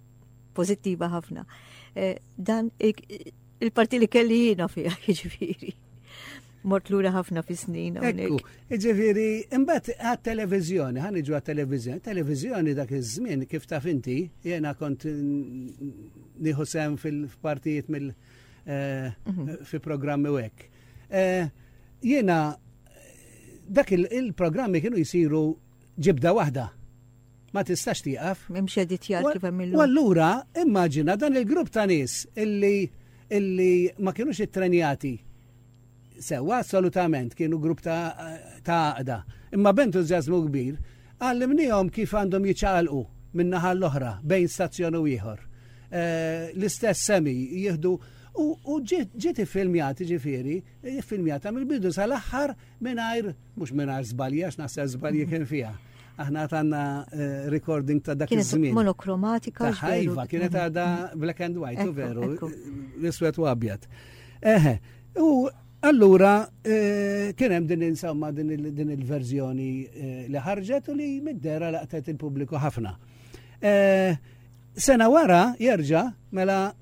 pożittiva ħafna. Eh, dan il-parti li kelli jiena fiha, jiġifieri. Mort lura ħafna fi snin. Ekku, ġifieri, imbagħad għat-televiżjoni, ħa niġu għat-televiżjoni. Televiżjoni dak iż-żmien kif taf inti, jiena kont nieħu sehem fil-partijiet mill eh, mhm. fi programmi u hekk. Eh, jiena dak il-programmi kienu jsiru ġibda waħda. Ma tistax tieqaf. M'hemmx editjar kif hemm illum. U allura immaġina dan il-grupp ta' nies illi illi ma kinux ittrenjati sewwa assolutament kienu grupp ta' għaqda. Imma b'entużjażmu kbir għallimnihom kif għandhom jiċċaqalqu minn naħa l-oħra bejn stazzjon u ieħor. Eh, l-istess semi jieħdu u ġiet iffilmjat ġifieri, iffilmjata mill-bidu sal-aħħar mingħajr mhux mingħajr żbalji għax naħseb żbalji kien fiha. Aħna għandna eh, recording ta' dak iż-żmien. Monokromatika. Iva, kienet għadha black and white, u veru, l-iswed u abjad. Eħe, u allura eh, kien hemm din insomma din il-verżjoni eh, li ħarġet u li mid-dera laqtet il-pubbliku ħafna. Sena wara jerġa' mela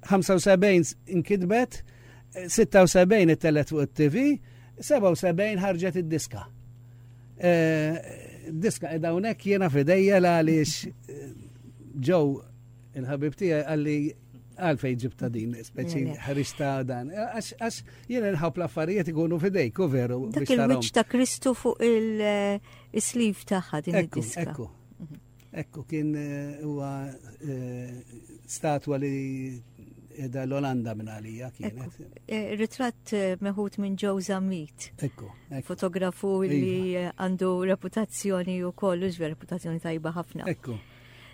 75 inkitbet, 76 ittellet fuq it-TV, 77 ħarġet id-diska. Eh, diska edha hawnhekk jiena fidejja għaliex eh, ġew il-ħabib tiegħi għalli għalfej ġibta din, speċi ħriġta dan. Għax jiena nħobb l-affarijiet ikunu fidejk, u veru. Dak il-wiċċ ta' Kristu fuq il-sleeve tagħha din id-diska. Ekku. Mhm. Ekku, kien eh, huwa eh, statwa li edha l-Olanda minn għalija kienet. Eh, ritratt meħud minn Joe Zammit. Ekku. Fotografu li iva. għandu reputazzjoni u kollu, ġver reputazzjoni tajba ħafna. Ekku.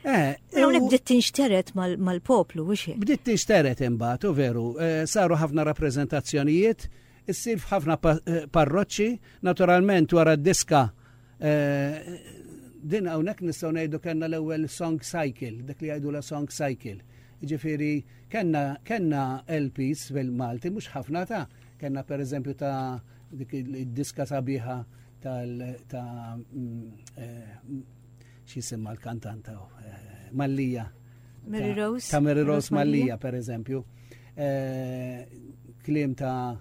Hawnhekk bdiet tinxteret mal-poplu, mhux hekk? Bdiet tinxteret imbagħad, u veru, saru ħafna rappreżentazzjonijiet, issir f'ħafna parroċċi, naturalment wara d-diska Eh, din hawnhekk nistgħu ngħidu kellna l-ewwel song cycle, dak li jgħidu la song cycle. Ġifieri kellna kellna LPs fil-Malti mhux ħafna ta' kellna pereżempju ta' dik id-diska sabiħa tal ta' mm, eh, xi l-kantanta eh, Mallija. Mary Rose. Ta' Mary Rose Mallija pereżempju. Kliem ta'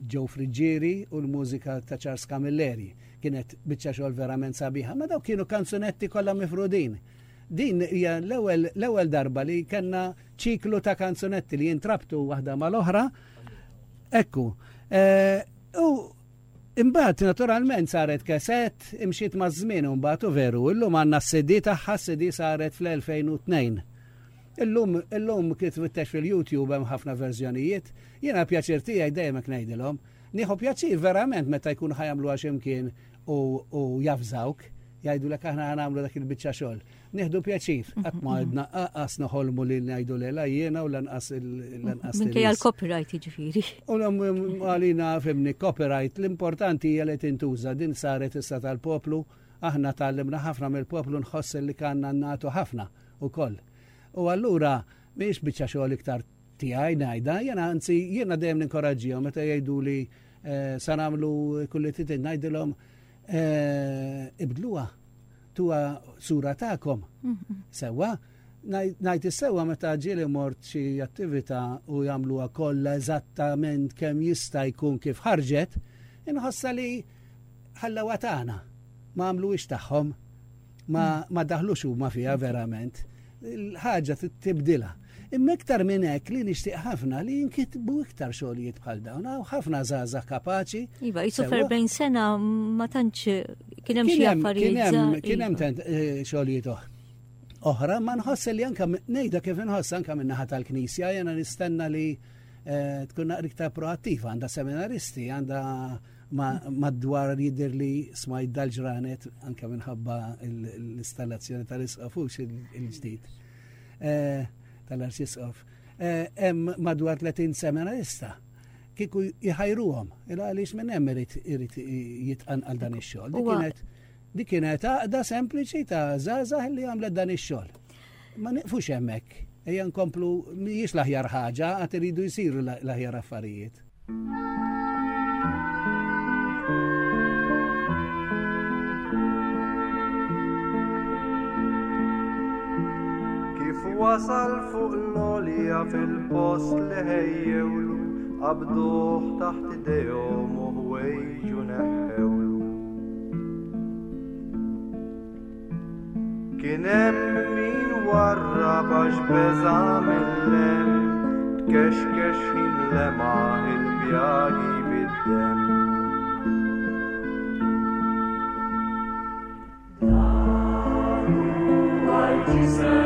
Joe Friggieri u l-mużika ta' Charles Camilleri. Kienet biċċa xogħol verament sabiħa, ma dawk kienu kanzunetti kollha mifrudin. Din hija l-ewwel darba li kellna ċiklu ta' kanzunetti li jintrabtu waħda mal-oħra. Ekku. Eh, u imbagħad naturalment saret keset, imxiet maż-żmien u mbagħad u veru, illum għandna s-CD tagħha, s-CD saret fl-2002. Illum, illum kif tfittex fil-YouTube hemm ħafna verżjonijiet. Jiena pjaċir tiegħi dejjem hekk ngħidilhom. Nieħu pjaċir verament meta jkunu ħa jagħmluha xi mkien u, u jafżawk, jgħidulek aħna ħa nagħmlu dak il-biċċa xogħol. Nieħdu pjaċir, qatt ma għedna qas noħolmu li ngħidu le la jiena u lanqas lanqas. Minkejja l-copyright jiġifieri. U għalina fimni copyright, l-importanti hija li tintuża din saret issa tal-poplu, aħna tgħallimna ħafna mill-poplu nħoss li kanna nagħtu ħafna ukoll. U allura mhijiex biċċa xogħol iktar tiegħi ngħidha, jiena anzi jiena dejjem ninkoraġġihom meta jgħiduli eh, sa nagħmlu kulli trid ngħidilhom Eh, ibdluha tuha sura tagħkom. Sewwa, ngħid is-sewwa meta ġieli mort xi attività u jagħmluha kollha eżattament kemm jista' jkun kif ħarġet, inħossha li ħallewha tagħna. Ma għamluhiex tagħhom, ma, ma daħlux huma fiha verament. Il-ħaġa tibdilha. Imma iktar minn hekk li nixtieq ħafna li jinkitbu iktar xogħlijiet bħal dawn. Hawn ħafna żgħażagħ kapaċi. Iva, jisu f'erbgħin sena ma tantx kien hemm xi affarijiet. Kien hemm eh, xogħlijiet oħra. Oħra, ma nħoss li anka ngħidha kif inħoss anka minn naħa tal-Knisja jiena nistenna li eh, tkun naqra iktar proattiva, għandha seminaristi, għandha madwar jidher li smajt dal-ġranet anke minħabba l-installazzjoni tal-isqof il-ġdid. Eh, tal-Arċisqof. Eh, hemm madwar 30 seminarista kieku jħajruhom, il għaliex minn hemm irid irid jitqanqal dan ix-xogħol. Dik kienet dik kienet għaqda sempliċi ta' żgħażagħ li għamlet dan ix-xogħol. Ma nieqfux hemmhekk, ejja nkomplu mhijiex l-aħjar ħaġa, għad iridu jsiru l-aħjar affarijiet. Kif wasal fuq l-għolja fil-post li ħejjewlu, qabduh taħt idejhom u ħwejġu neħħewlu. Kien hemm min warrab għax beża' mill-hemm, tkexkex ħin lemaħ il-pjagi bid-demm. Dan huwa l-ġisem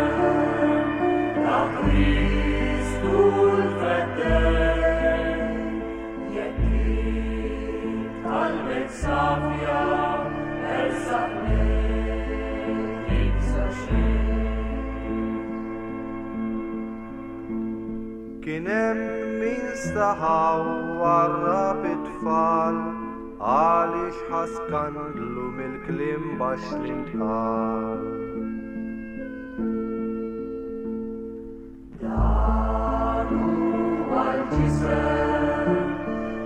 ta' Kristu l-Feddej, jekk int qalbek safja ersaq lejh tibża' xejn. Kien hemm min staħa u warrab it-tfal għaliex ħa skandlu mill-kliem baxx li ntqal. Dan huwa l-ġisem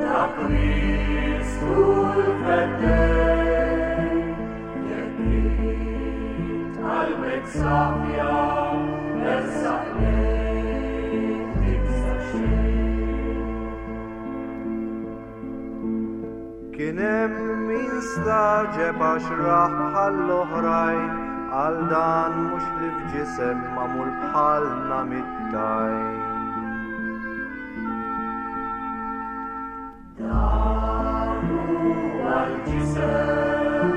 ta' Kristu l-Feddej, jekk int qalbek safja ersaq lejh tibża' xejn. Kien hemm min stagħġeb għax rah bħall-oħrajn, għal dan mhux li f'ġisem magħmul bħalna mit-tajn. Dan huwa l-ġisem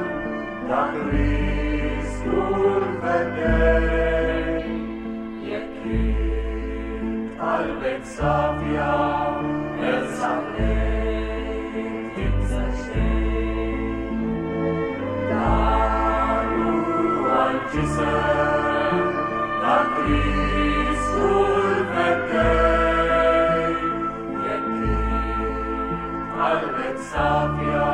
ta' Kristu l-Feddej, jekk int qalbek safja ersaq lejh tibża' xejn. Dan huwa l-ġisem ta' Kristu l-Feddej, jekk int qalbek safja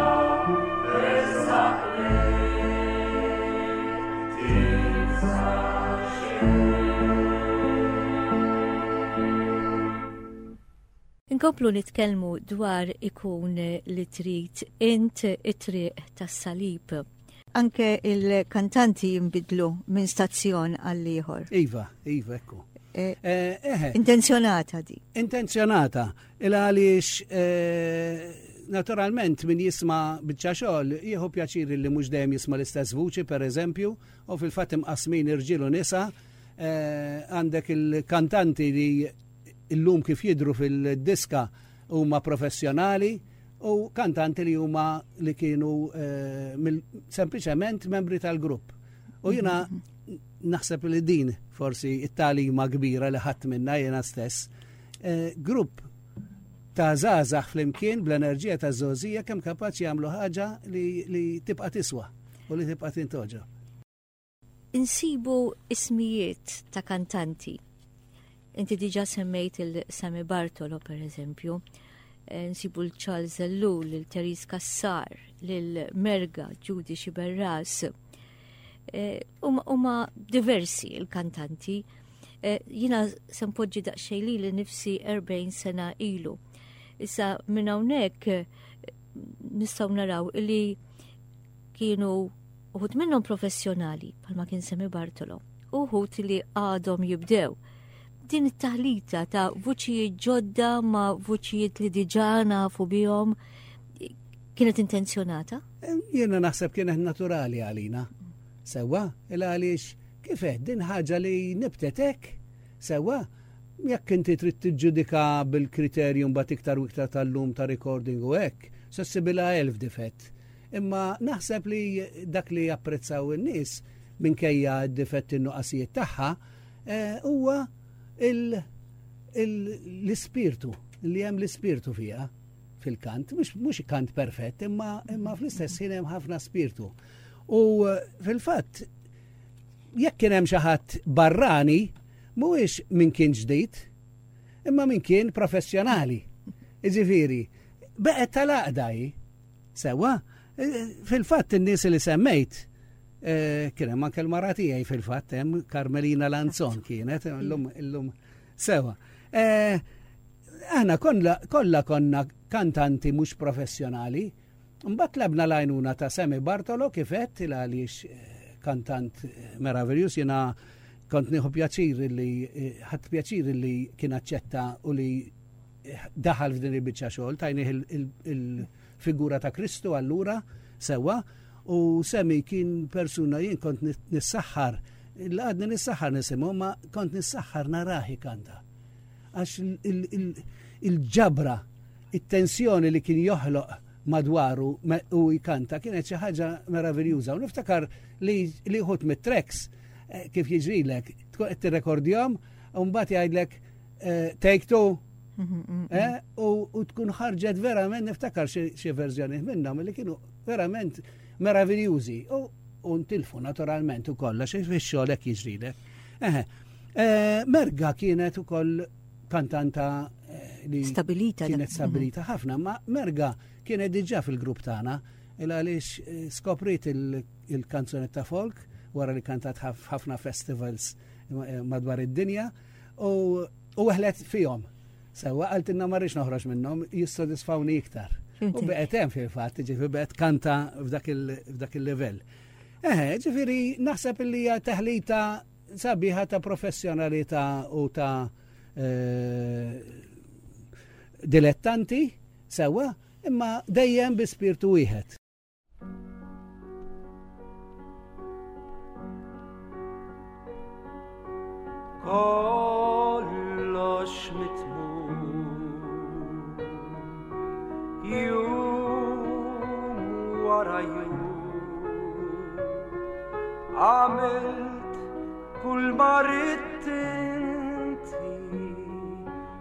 ersaq lejh tibża' xejn. Inkomplu nitkellmu dwar ikun li trid int it-triq tas-salib. Anke il-kantanti jinbidlu minn stazzjon għal ieħor. Iva, iva, ekku. Eh, eh, intenzjonata di. Intenzjonata, il għaliex eh, naturalment min jisma biċċa xogħol jieħu pjaċir li mhux dejjem jisma l-istess vuċi per eżempju, u fil-fatt imqasmin irġiel u nisa, għandek il-kantanti li illum kif jidhru fil-diska huma professjonali u kantanti li huma li kienu eh, sempliċement membri tal-grupp. U jiena naħseb li din forsi it-talima kbira li ħadd minna jiena stess. Eh, grupp ta' żgħażagħ flimkien bl-enerġija ta' żgħożija kemm kapaċi jagħmlu ħaġa li, li tibqa' tiswa u li tibqa' tintoġa. Insibu ismijiet ta' kantanti. Inti diġa semmejt il-Sami Bartolo, per eżempju. Eh, nsibu l-Charles Ellul, il-Therese Cassar, l-Merga, Judy Xiberras. Eh, huma diversi il-kantanti. Eh, jina sempoġġi daqsxejn li li nifsi 40 sena ilu. Issa minn hawnhekk nistgħu naraw li kienu uħud minnhom professjonali bħalma kien Semi Bartolo, uħud li għadhom jibdew. Din it-taħlita ta' vuċijiet ġodda ma' vuċijiet li diġà nafu bihom kienet intenzjonata? Jiena naħseb kienet naturali għalina. Sewwa, il għaliex kif din ħaġa li nibtet hekk, sewwa, jekk inti trid tiġġudika bil-kriterju mbagħad iktar u iktar tal-lum ta' recording u hekk, se ssibilha elf difett. Imma naħseb li dak li japprezzaw in-nies minkejja d-difetti n-nuqqasijiet tagħha eh, huwa l-ispirtu li hemm l-ispirtu fiha fil-kant, mhux kant perfett, imma, imma fl-istess ħin hemm ħafna spirtu. U eh, fil-fatt, jekk kien hemm xi ħadd barrani, mhuwiex min kien ġdid, imma min kien professjonali. Iġifieri, beqgħet tal-għaqda hi. Sewwa, eh, fil-fatt in-nies li semmejt, eh, kien hemm anke l-mara tiegħi fil-fatt hemm Carmelina Lanzon kienet illum illum sewwa. Eh, aħna kollha konna kantanti mhux professjonali, mbagħad tlabna l-għajnuna ta' Semi Bartolo kif għedt il għaliex kantant meraviljuż jiena kont nieħu pjaċir li ħadd pjaċir li kien aċċetta u li daħal f'din il-biċċa xogħol, tajnih il-figura ta' Kristu allura sewwa u Semi kien persuna jien kont nissaħħar, għadni nissaħħar nisimgħu, ma kont nissaħħar narahi kanta. Għax il-ġabra, it-tensjoni li kien joħloq madwaru u jkanta kienet xi ħaġa meraviljuża. U niftakar li wħud mit-tracks eh, kif jiġrilek, tkun qed tirrekordjhom u mbagħad jgħidlek Eh, take two. Eh, u tkun ħarġet verament niftakar xi verżjoni minnhom li kienu verament meraviljużi. U ntilfu naturalment u kollha xi fix-xogħol hekk jiġrilek. Eh, Merga kienet ukoll kantanta li stabilita kienet stabilita ħafna, ma Merga kienet diġà fil-grupp tagħna il għaliex skopriet il-kanzunetta folk wara li kantat ħafna festivals madwar id-dinja U weħlet fihom. Sewa qaltilna ma rridx noħroġ minnhom, jissodisfawni iktar. U beqgħet hemm fil-fatt, ġifieri beqgħet kanta f'dak il-livell. Eħe, ġifieri naħseb li hija teħlita sabiħa ta' professjonalità u ta' eh, dilettanti sewa, imma dejjem bi spirtu wieħed. Kollox mitmum Jum wara jum Għamilt kull ma ridt inti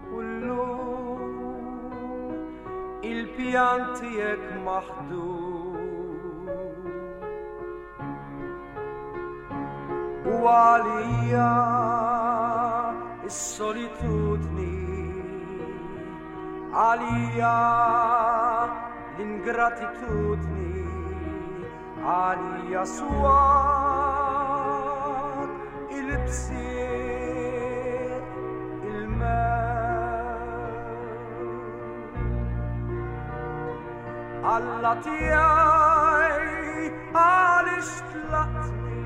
u llum Il-pjan tiegħek maħdum. U għalija is-solitudni, għalija l-ingratitudni, Għalija swat il-bsiet il-mewt. Alla tiegħi għaliex tlaqtni?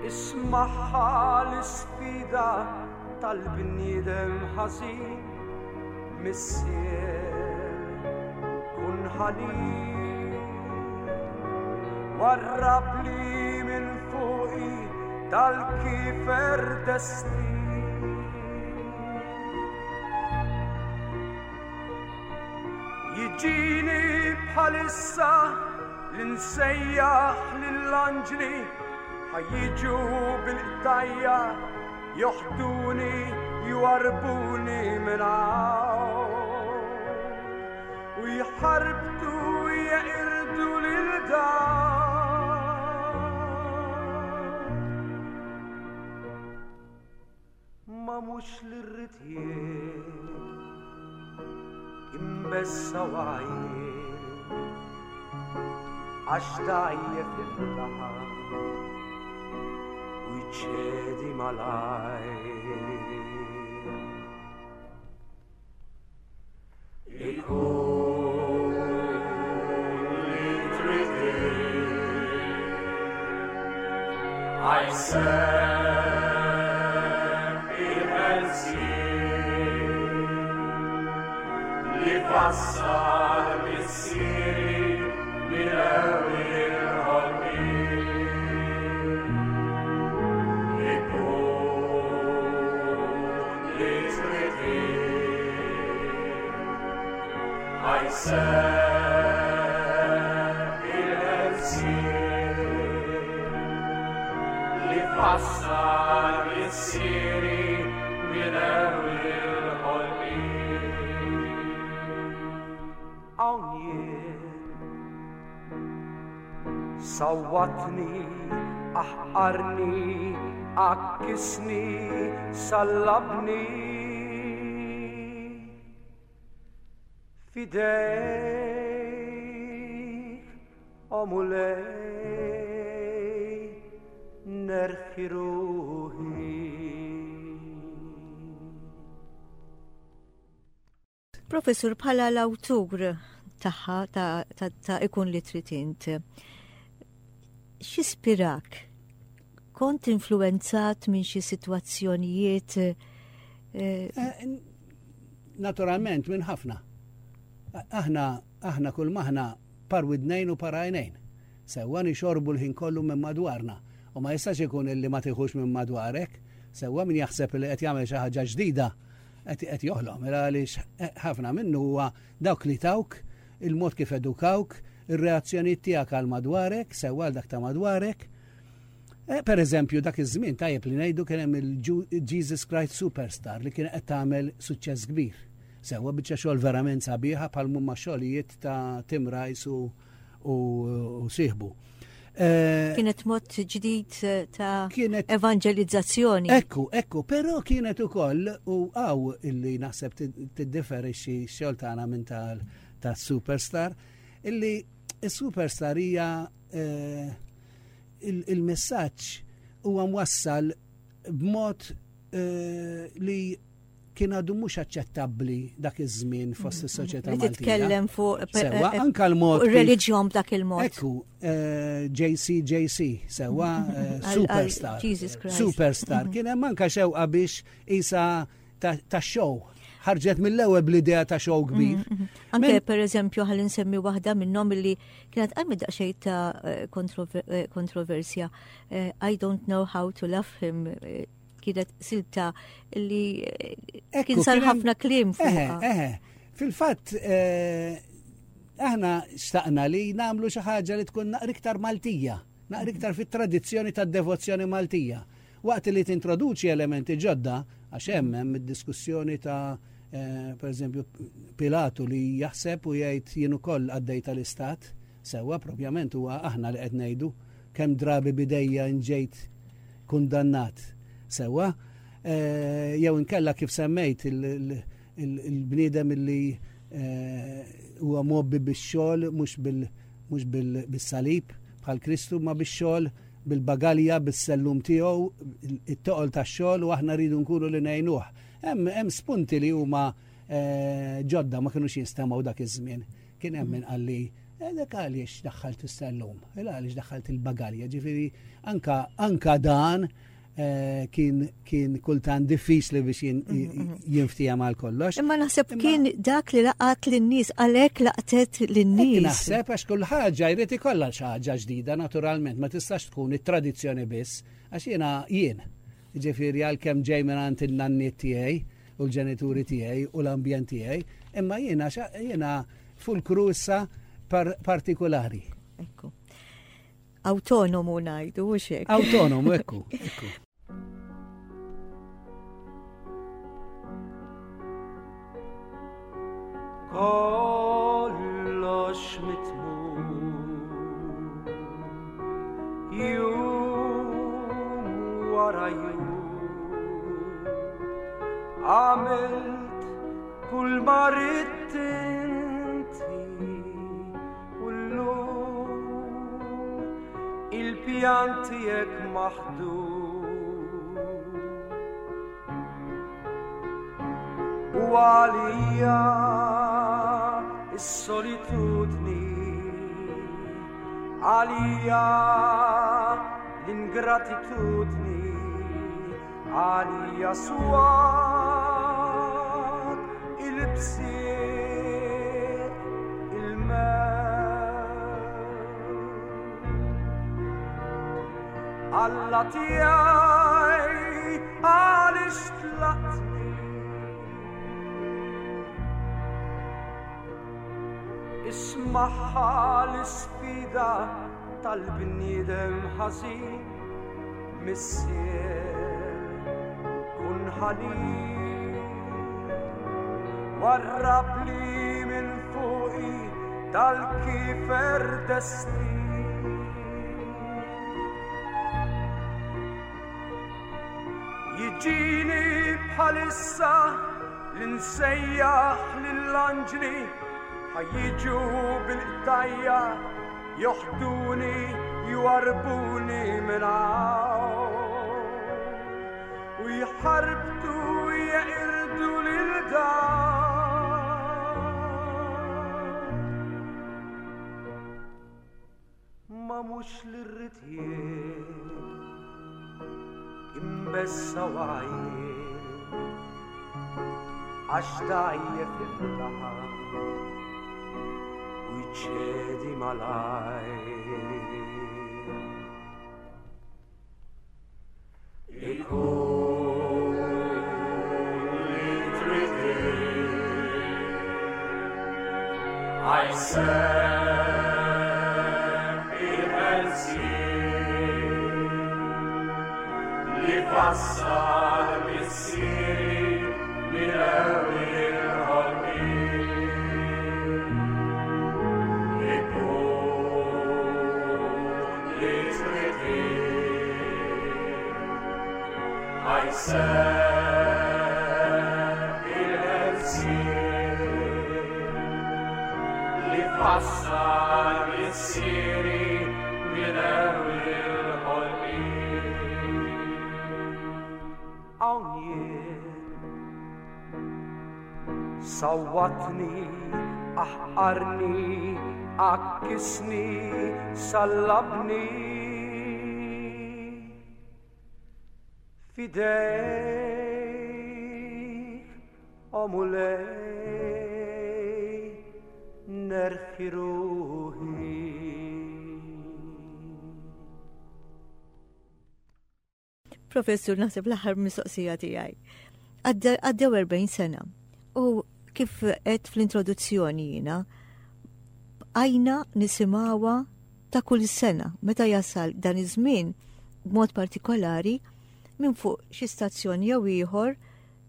Ismagħha l-isfida tal-bniedem ħażin. Missier, kun ħanin, warrab li minn fuqi dal-kifer destin. Jiġini bħalissa l-insejjaħ lill-anġli ħajjiġu bil-qtajja Joħduni, jwarrbuni minn hawn u jħarbtu jeqirdu lil dan. Ma mhux li rrid jien imbessa għajjien għax dajjef il-laħam. U jċedi malajr. Ikun Ħa jseħħ il-ħelsien li fassal missieri minn ewwel il-ħolqien. Ikun li trid int. Ħa jseħħ il-ħelsien li fassal missieri minn ewwel il-ħolqien. Hawn jien sawwatni, aħqarni, għakkisni, sallabni. F'idejk, o Mulej, nerħi ruħi. Professur, bħala l-awtur tagħha ta' Ikun li trid int, x'ispirak? Kont influenzat minn xi sitwazzjonijiet? Naturalment, minn ħafna. Aħna kull maħna par widnejn u par għajnejn. Sewwa nixorbu l-ħin kollu minn madwarna. U ma jistax ikun illi ma tiħux minn madwarek. Sewwa min jaħseb li qed jagħmel xi ħaġa ġdida qed joħlom. Mela għaliex ħafna minnu huwa dawk li tawk, il-mod kif edukawk, ir-reazzjonijiet tiegħek għal madwarek, sewwa għal dak ta' madwarek. Per eżempju, dak iż-żmien tajjeb li ngħidu kien hemm il-Jesus Christ Superstar li kien qed tagħmel suċċess kbir. Sewwa biċċa xogħol verament sabiħa bħal mumma xogħlijiet ta' Tim Rice u sieħbu. Kienet mod ġdid ta' evangelizzazzjoni. Ekku, ekku, però kienet ukoll u għaw illi naħseb tiddiferixxi x-xogħol tagħna minn tal-Superstar, illi s-Superstar hija il-messaġġ huwa mwassal b'mod li kien għadu mhux aċċettabbli dak iż-żmien fost is-soċjetà Li Maltija. titkellem fuq Sewwa, anka l-mod fuq kif ir-reliġjon b'dak il-mod. Ekku, JCJC, sewwa, Għal Superstar. Jesus Christ. Superstar. Kien hemm anka xewqa biex isa ta' show. Ħarġet mill-ewwel bl-idea ta' show kbir. Anke per eżempju ħalli nsemmi waħda minnhom illi kienet qajmet daqsxejn ta' kontroversja. I don't know how to love him. Kienet silta li Ekku, kien sar kien hemm ħafna kliem fuqha. Eħe, eħe. Fil-fatt aħna xtaqna li nagħmlu xi ħaġa li tkun naqra iktar Maltija, naqra iktar fit-tradizzjoni tad-devozzjoni Maltija. Waqt li tintroduċi elementi ġodda, għax hemm id-diskussjoni ta' per eżempju Pilatu li jaħseb u jgħid jien ukoll għaddej tal-istat, sewwa propjament huwa aħna li qed ngħidu kemm drabi bidejja nġejt kundannat. Sewwa, jew inkella kif semmejt il-bniedem illi huwa mobbi bix-xogħol mhux bis-salib bħal Kristu, ma bix-xogħol, bil-bagalja, bis-sellum tiegħu, it-toqol tax-xogħol u aħna rridu nkunu li ngħinuh. Hemm spunti li huma ġodda ma kinux jinstemgħu dak iż-żmien. Kien hemm min qalli, dak għaliex daħħalt is-sellum, għaliex daħħalt il-bagalja, ġifieri anka dan kien kultant diffiċli biex jinftija mal kollox. Imma naħseb Imma kien dak li laqat lin-nies, għalhekk laqtet lin-nies. Hekk naħseb għax kull ħaġa jrid ikollha xi ħaġa ġdida naturalment, ma tistax tkun it-tradizzjoni biss, għax jiena jien. Ġifieri għalkemm ġej minn in-nanniet tiegħi u l-ġenituri tiegħi u l-ambjent tiegħi, imma jiena fulkru issa partikolari. Ekku. Autonomu ngħidu, u xek. Autonomu, ekku, ekku. Kollox mitmum, jum wara jum, għamilt kull ma ridt inti u llum il-pjan tiegħek maħdum. U għalija is-solitudni, għalija L-ingratitudni għalija swat il-bsieq il-mewt. Alla tiegħi għaliex tlaqtni? Ismagħha l-isfida tal-bniedem ħażin, Missier, kun ħanin. Warrabli minn fuqi dal-kifer destin. Jiġini bħalissa li nsejjaħ lill-anġli ħa jiġu bil-qtajja joħduni jwarbuni minn hawn u jħarbtu jeqirdu lil dan. Ma mhux li rrid jien imbessa għajjien għax dgħajjef il-laħam u jċedi malajr. Ikun li trid Għajseħ il-ħelsien li fassal missieri minn ewwel il-ħolqien. Ikun li trid Ħajseħ il-ħelsien li fassal missieri minn ewwel il-ħolqien. Hawn jien sawwatni, aħqarni, għakkisni, sallabni. F'idejk, o Mulej, nerħi ruħi. Professur, naħseb l-aħħar mistoqsija tiegħi. Għaddew 40 sena u kif qed fl-introduzzjoni jiena, bqajna nisimgħuha ta' kull sena meta jasal dan iż-żmien b'mod partikolari minn fuq xi stazzjon jew ieħor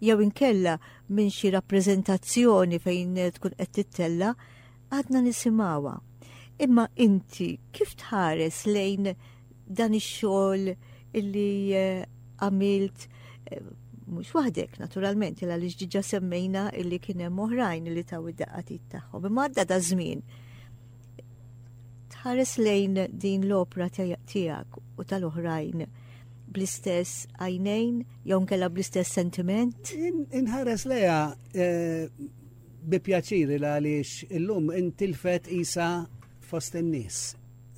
jew inkella minn xi rappreżentazzjoni fejn tkun qed tittella' għadna nisimgħuha. Imma inti kif tħares lejn dan ix-xogħol illi eh, għamilt eh, mhux waħdek naturalment il għaliex diġà semmejna illi kien hemm oħrajn li taw id-daqqatit tagħhom. Imma għadda da żmien. Tħares lejn din l-opra tiegħek u tal-oħrajn bl-istess għajnejn jew nkella bl-istess sentiment? Inħares leja eh, bi pjaċir għaliex illum intilfet isa fost in-nies.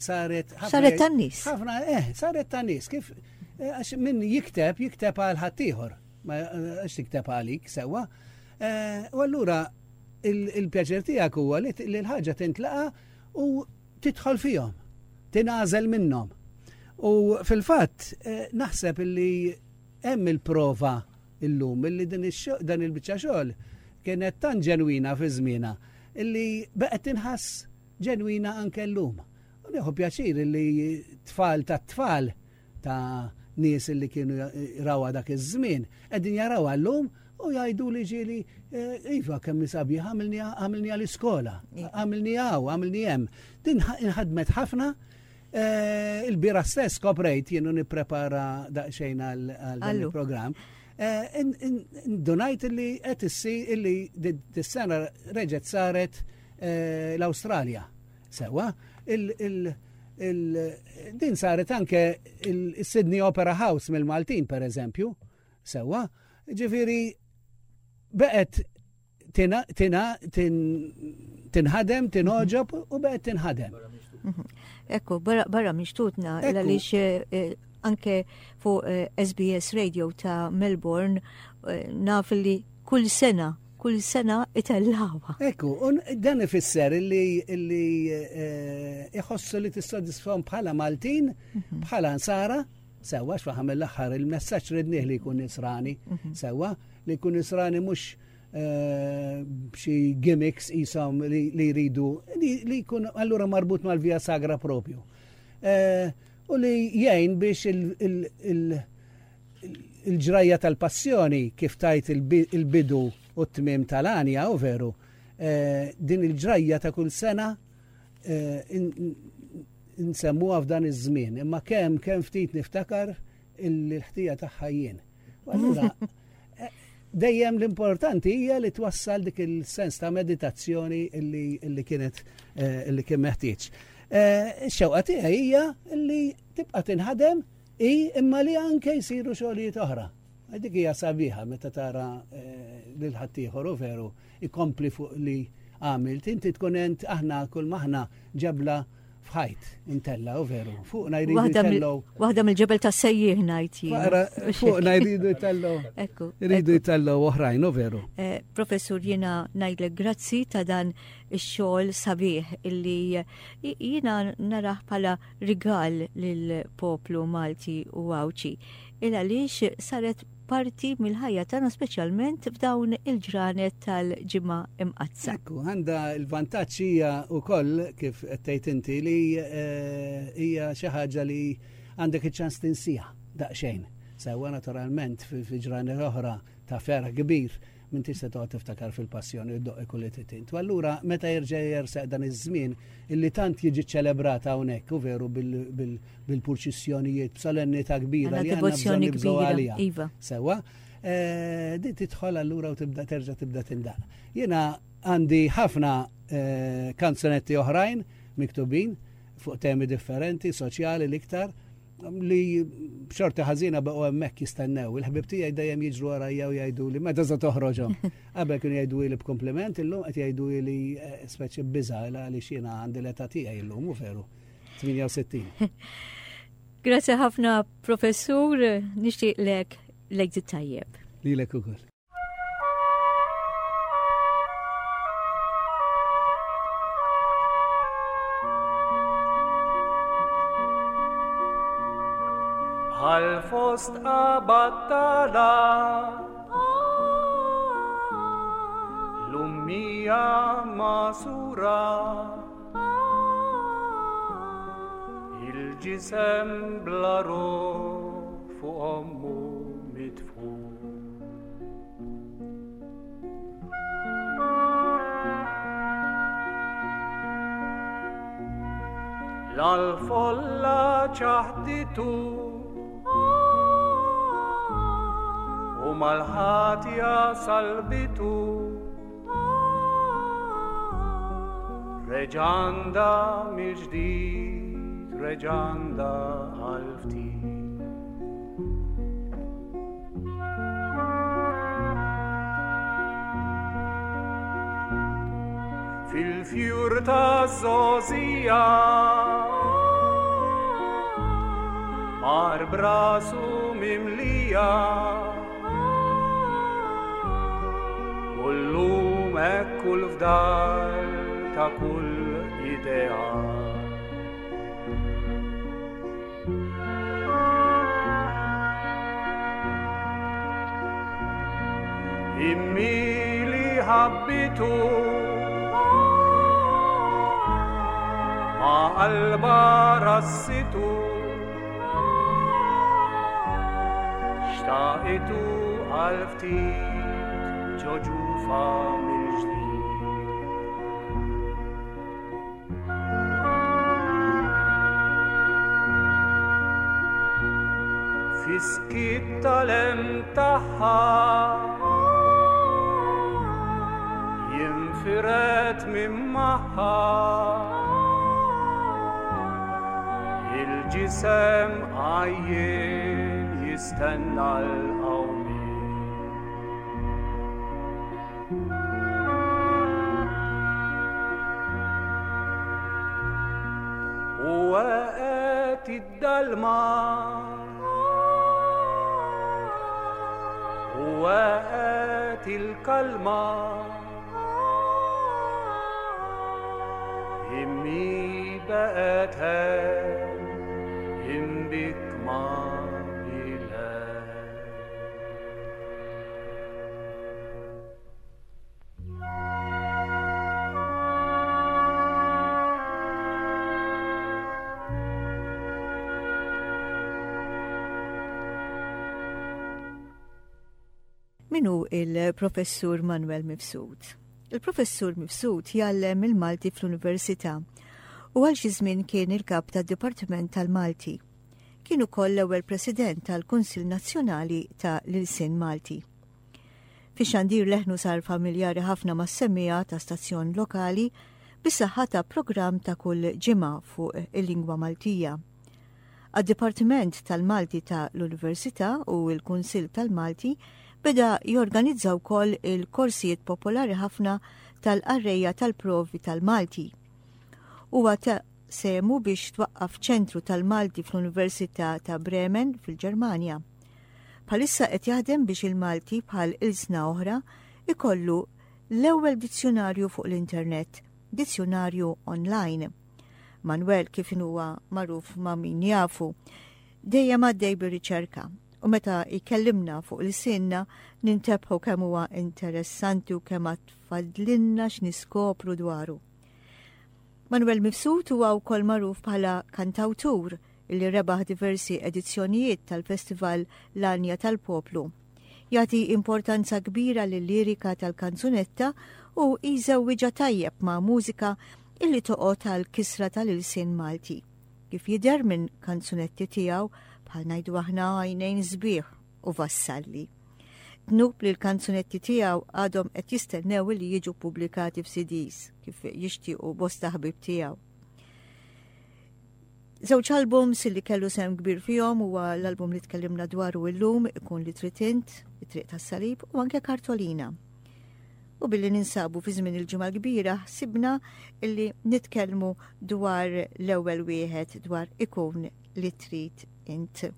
Saret Saret tan-nies. Ħafna, eh, saret tan-nies. Kif eh, għax min jikteb, jikteb għal ħaddieħor. Ma eh, għax tikteb għalik sewwa. Eh, u allura il-pjaċir tiegħek huwa li l-ħaġa tintlaqa u tidħol fihom, tingħażel minnhom. U fil-fatt naħseb illi hemm il-prova illum illi din dan il-biċċa xogħol kienet tant ġenwina fi żmienha illi baqgħet tinħass ġenwina anke llum. U nieħu pjaċir illi tfal tat-tfal ta' nies illi kienu rawha dak iż-żmien qegħdin jarawha llum u jgħidu li ġieli eh, iva kemm sabiħ għamilni għal-iskola, għamilni hawn, għamilni hemm. Din inħadmet ħafna eh, il-bira stess koprejt jienu nipprepara daqsxejn għal dan il-programm. Eh, Ndunajt li qed issir illi dis-sena reġgħet saret l-Awstralja. Sewa, din saret anke il-Sydney Opera House mill-Maltin, per eżempju, sewa, ġifiri, beqet tinħadem, tinħoġob u beqet tinħadem. Mhm. Ekku, barra mixtutna, għaliex eh, eh, Anke fuq SBS Radio ta' Melbourne naf li kull sena kull sena itellawha. Ekku, un dan ifisser illi illi iħossu li tissodisfahom bħala Maltin, bħala Nsara, sewwa x'faħam mill-aħħar il-messaġġ ridnih li jkun nisrani, sewwa li jkun nisrani mhux b'xi gimmicks qishom li jridu li jkun allura marbut mal-Via Sagra propju. U li jgħin biex il-ġrajja tal-passjoni kif tajt il-bidu u t-tmiem tal-għanja, u veru, din il-ġrajja ta' kull sena nsemmuha f'dan iż-żmien, imma kemm ftit niftakar il-ħtija tagħha jien. U allura dejjem l-importanti hija li twassal dik il-sens ta' meditazzjoni illi kienet illi kien meħtieġ. Ix-xewqa tiegħi hija li tibqa' tinħadem i imma li anke jsiru xogħlijiet oħra. Dik hija sabiħa meta tara lil ħaddieħor u veru ikompli fuq li għamilt. Inti tkun ent aħna kull maħna ġebla f'ħajt intella u veru. Fuqna jridu jtellgħu. Waħda mill-ġebel ta' sejjieħ ngħid jien. Fuqna jridu jtellgħu. Ekku, Jridu ekku. jtellgħu oħrajn u veru. Professur, jiena ngħidlek grazzi ta' dan ix-xogħol sabiħ illi jiena narah bħala rigal lill-poplu Malti u Għawdxi. Il għaliex saret parti mill-ħajja tagħna speċjalment f'dawn il-ġranet tal-Ġimgħa Imqaddsa. Ekku, għandha l-vantaġġ hija wkoll kif qed tgħid inti li hija xi ħaġa li għandek iċ-ċans tinsija daqsxejn. Sewwa naturalment fi ġranet oħra ta' ferħ kbir minn tista' toqgħod tiftakar fil-passjoni u ddoq kull li titint. U allura meta jerġa' jerseq dan iż-żmien illi tant jiġi ċelebrata hawnhekk u veru bil-purċissjonijiet b'solennità kbira Għandna li għandna devozzjoni bżonn nibżgħu kbira, għaliha. Iva. Sewwa, din tidħol allura u tibda terġa' tibda tindaq. Jiena għandi ħafna kanzunetti oħrajn miktubin fuq temi differenti, soċjali l-iktar, li b'xorti ħażina baqgħu hemmhekk jistennew. Il-ħbib tiegħi dejjem jiġru warajja u jgħidu li meta se toħroġhom. Qabel kienu jgħidu li b'kompliment, illum qed jgħidu li speċi biża' għaliex jiena għandi l-età tiegħi illum, u veru, 68. Grazie ħafna, professur, nixtieqlek lejt tajjeb. Lilek ukoll. Bħal fost abattala l-ummija masura il-ġisem bla ruħ fuq ommu mitfu. L-folla ċaħditu u mal-ħatja salbitu. Reġanda mill-ġdid, reġanda għal-ftit. Fil-fjur ta' żgħożija mar brasu mimlija u llum hekk kull fdal ta' kull idea. Immi li ħabbitu ma' qalba rassitu xtaqitu għal ftit ġo ġufa mill-ġdid. Fiskit tal-em tagħha jinfiret minn magħha il-ġisem għajjien jistenna l-qawmien. U għeqet Waqgħet id-dalma u waqgħet il-kalma. Immi baqgħet hemm imbikma Min hu il-Professur Manuel Mifsud? Il-Professur Mifsud jgħallem il-Malti fl-Università u għal xi żmien kien il-kap tad-Dipartiment tal-Malti. Kien ukoll l-ewwel President tal-Kunsill Nazzjonali ta' l-Ilsien Malti. Fix-xandir leħnu sar familjari ħafna mas-semmiegħa ta' stazzjon lokali bis-saħħa ta' programm ta' kull ġimgħa fuq il-lingwa Maltija. Għad-Dipartiment tal-Malti ta' l-Università u l-Kunsill tal-Malti beda jorganizza wkoll il-korsijiet popolari ħafna tal-qarrejja tal-provi tal-Malti. Huwa ta sehmu biex twaqqaf ċentru tal-Malti fl-Università ta' Bremen fil-Ġermanja. Bħalissa qed jaħdem biex il-Malti bħal ilsna oħra ikollu l-ewwel dizzjunarju fuq l-internet, dizzjunarju online. Manuel kif huwa magħruf ma' min jafu, dejjem għaddej bir-riċerka u meta jkellimna fuq l-sinna nintebħu kemm huwa interessanti u kemm għatfadlinna x'niskopru dwaru. Manuel Mifsud huwa wkoll magħruf bħala kantawtur li rebaħ diversi edizzjonijiet tal-Festival L-Għanja tal-Poplu. Jagħti importanza kbira lil-lirika tal-kanzunetta u jżewwiġha tajjeb ma' mużika illi toqgħod għal kisra tal-ilsien Malti. Kif jidher minn kanzunetti tiegħu bħal ngħidu aħna għajnejn sbieħ u vassalli. Dnub li l-kanzunetti tiegħu għadhom qed jistennew li jiġu pubblikati f'CDs kif jixtiequ bosta ħbieb tiegħu. Żewġ albums li kellu sehem kbir fihom huwa l-album li tkellimna dwaru illum ikun li trid int, it-triq tas-salib u anke Kartolina. U billi ninsabu fi żmien il-ġimgħa kbira ħsibna illi nitkellmu dwar l-ewwel wieħed dwar ikun li trid int.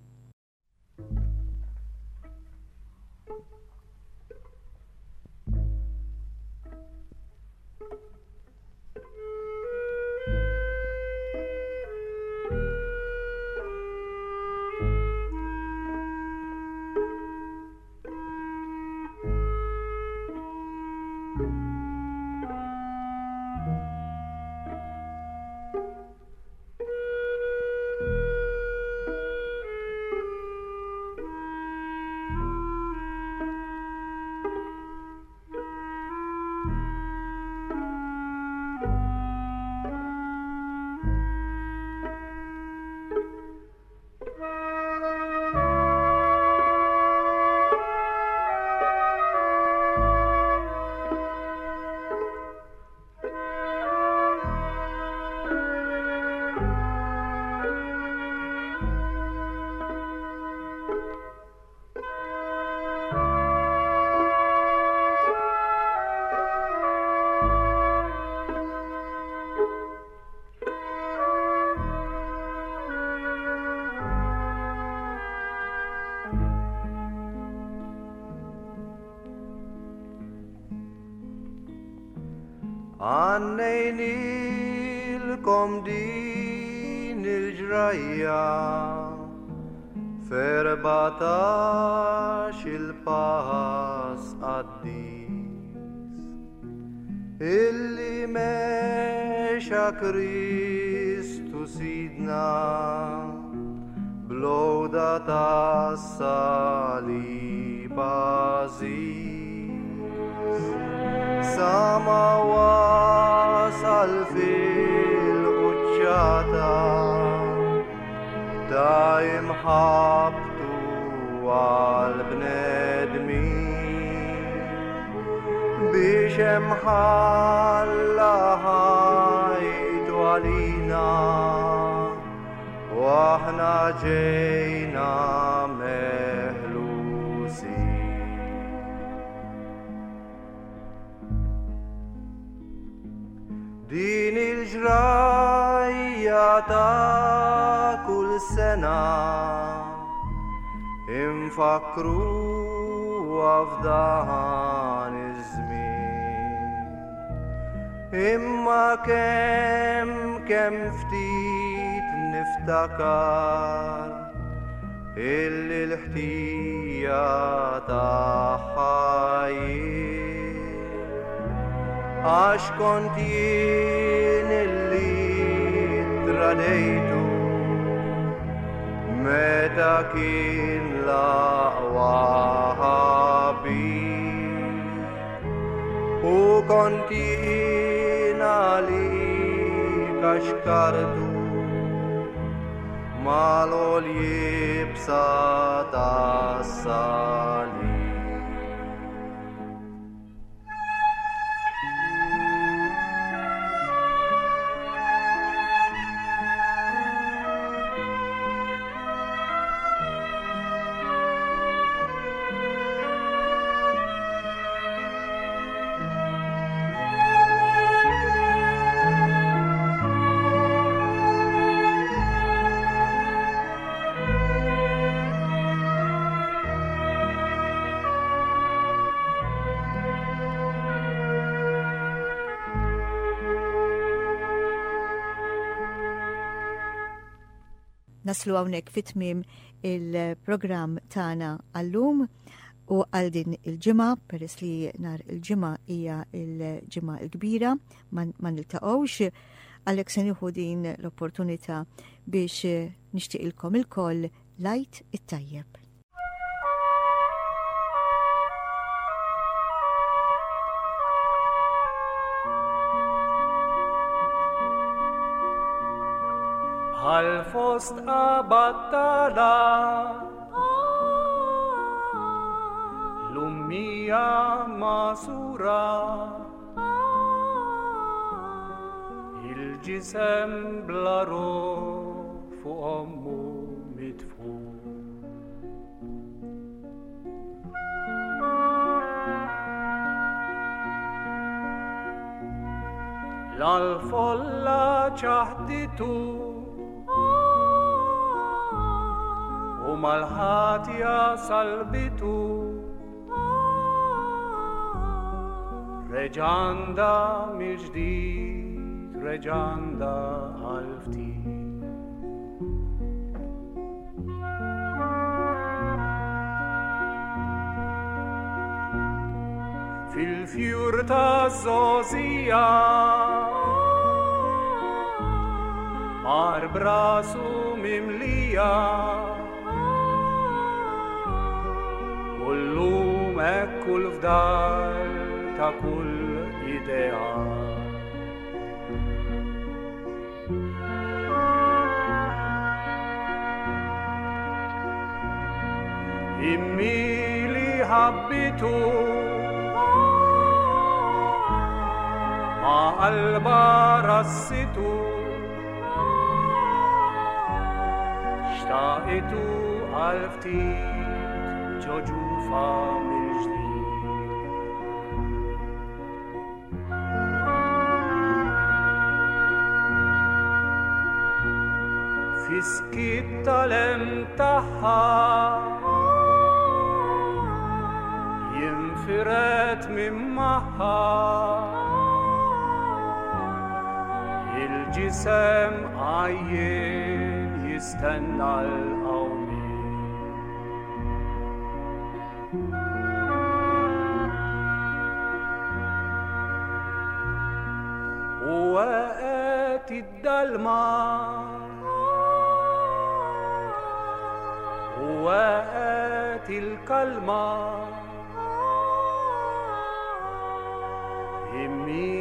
Għannejnilkom din il-ġrajja ferbatax il-pass qaddis illi mexa Kristu sidna blowda tas-salib għażiż. Sa ma wasal fil-quċċata ta' imħabbtu għall-bnedmin biex hemm ħalla ħajtu għalina u aħna ġejna meħlusin. Din il-ġrajja ta' kull sena infakkruha f'dan iż-żmien. Imma kemm kemm ftit niftakar illi l-ħtija tagħha jien. Għax kont jien illi tradijtu meta kien l-aqwa ħabib. U kont jien għalik għax kartu mal-għol-jibsa tas-salib. Naslu hawnhekk fit-tmiem il-programm tagħna għallum u għal din il-ġimgħa, peress li nhar il-ġimgħa hija l-ġimgħa l-kbira ma niltaqgħux, għalhekk se nieħu din l-opportunità biex nixtieqilkom ilkoll l-Għid it-tajjeb. Bħal fost battala l-ummija masura il-ġisem bla ruħ fuq ommu mitfu. L-folla ċaħditu u mal-ħatja salbitu. Reġanda mill-ġdid, reġanda għal-ftit. Fil-fjur ta' zozija mar brasu mimlija u llum hekk kull fdal ta' kull idea. Immi li ħabbitu ma qalba rassitu xtaqitu għal ftit ġo ġufa mill-ġdid. Fiskit tal-em tagħha jinfiret minn magħha il-ġisem għajjien jistenna l-qawmien. U waqgħet id-dalma u waqgħet il-kalma immi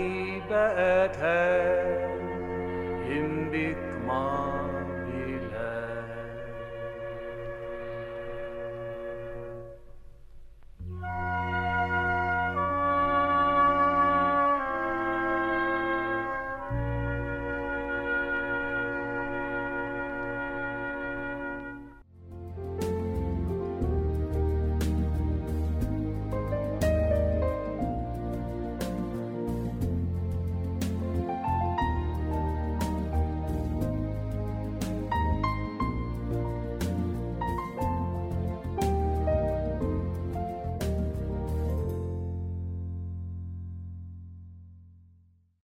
baqgħet imbik ma.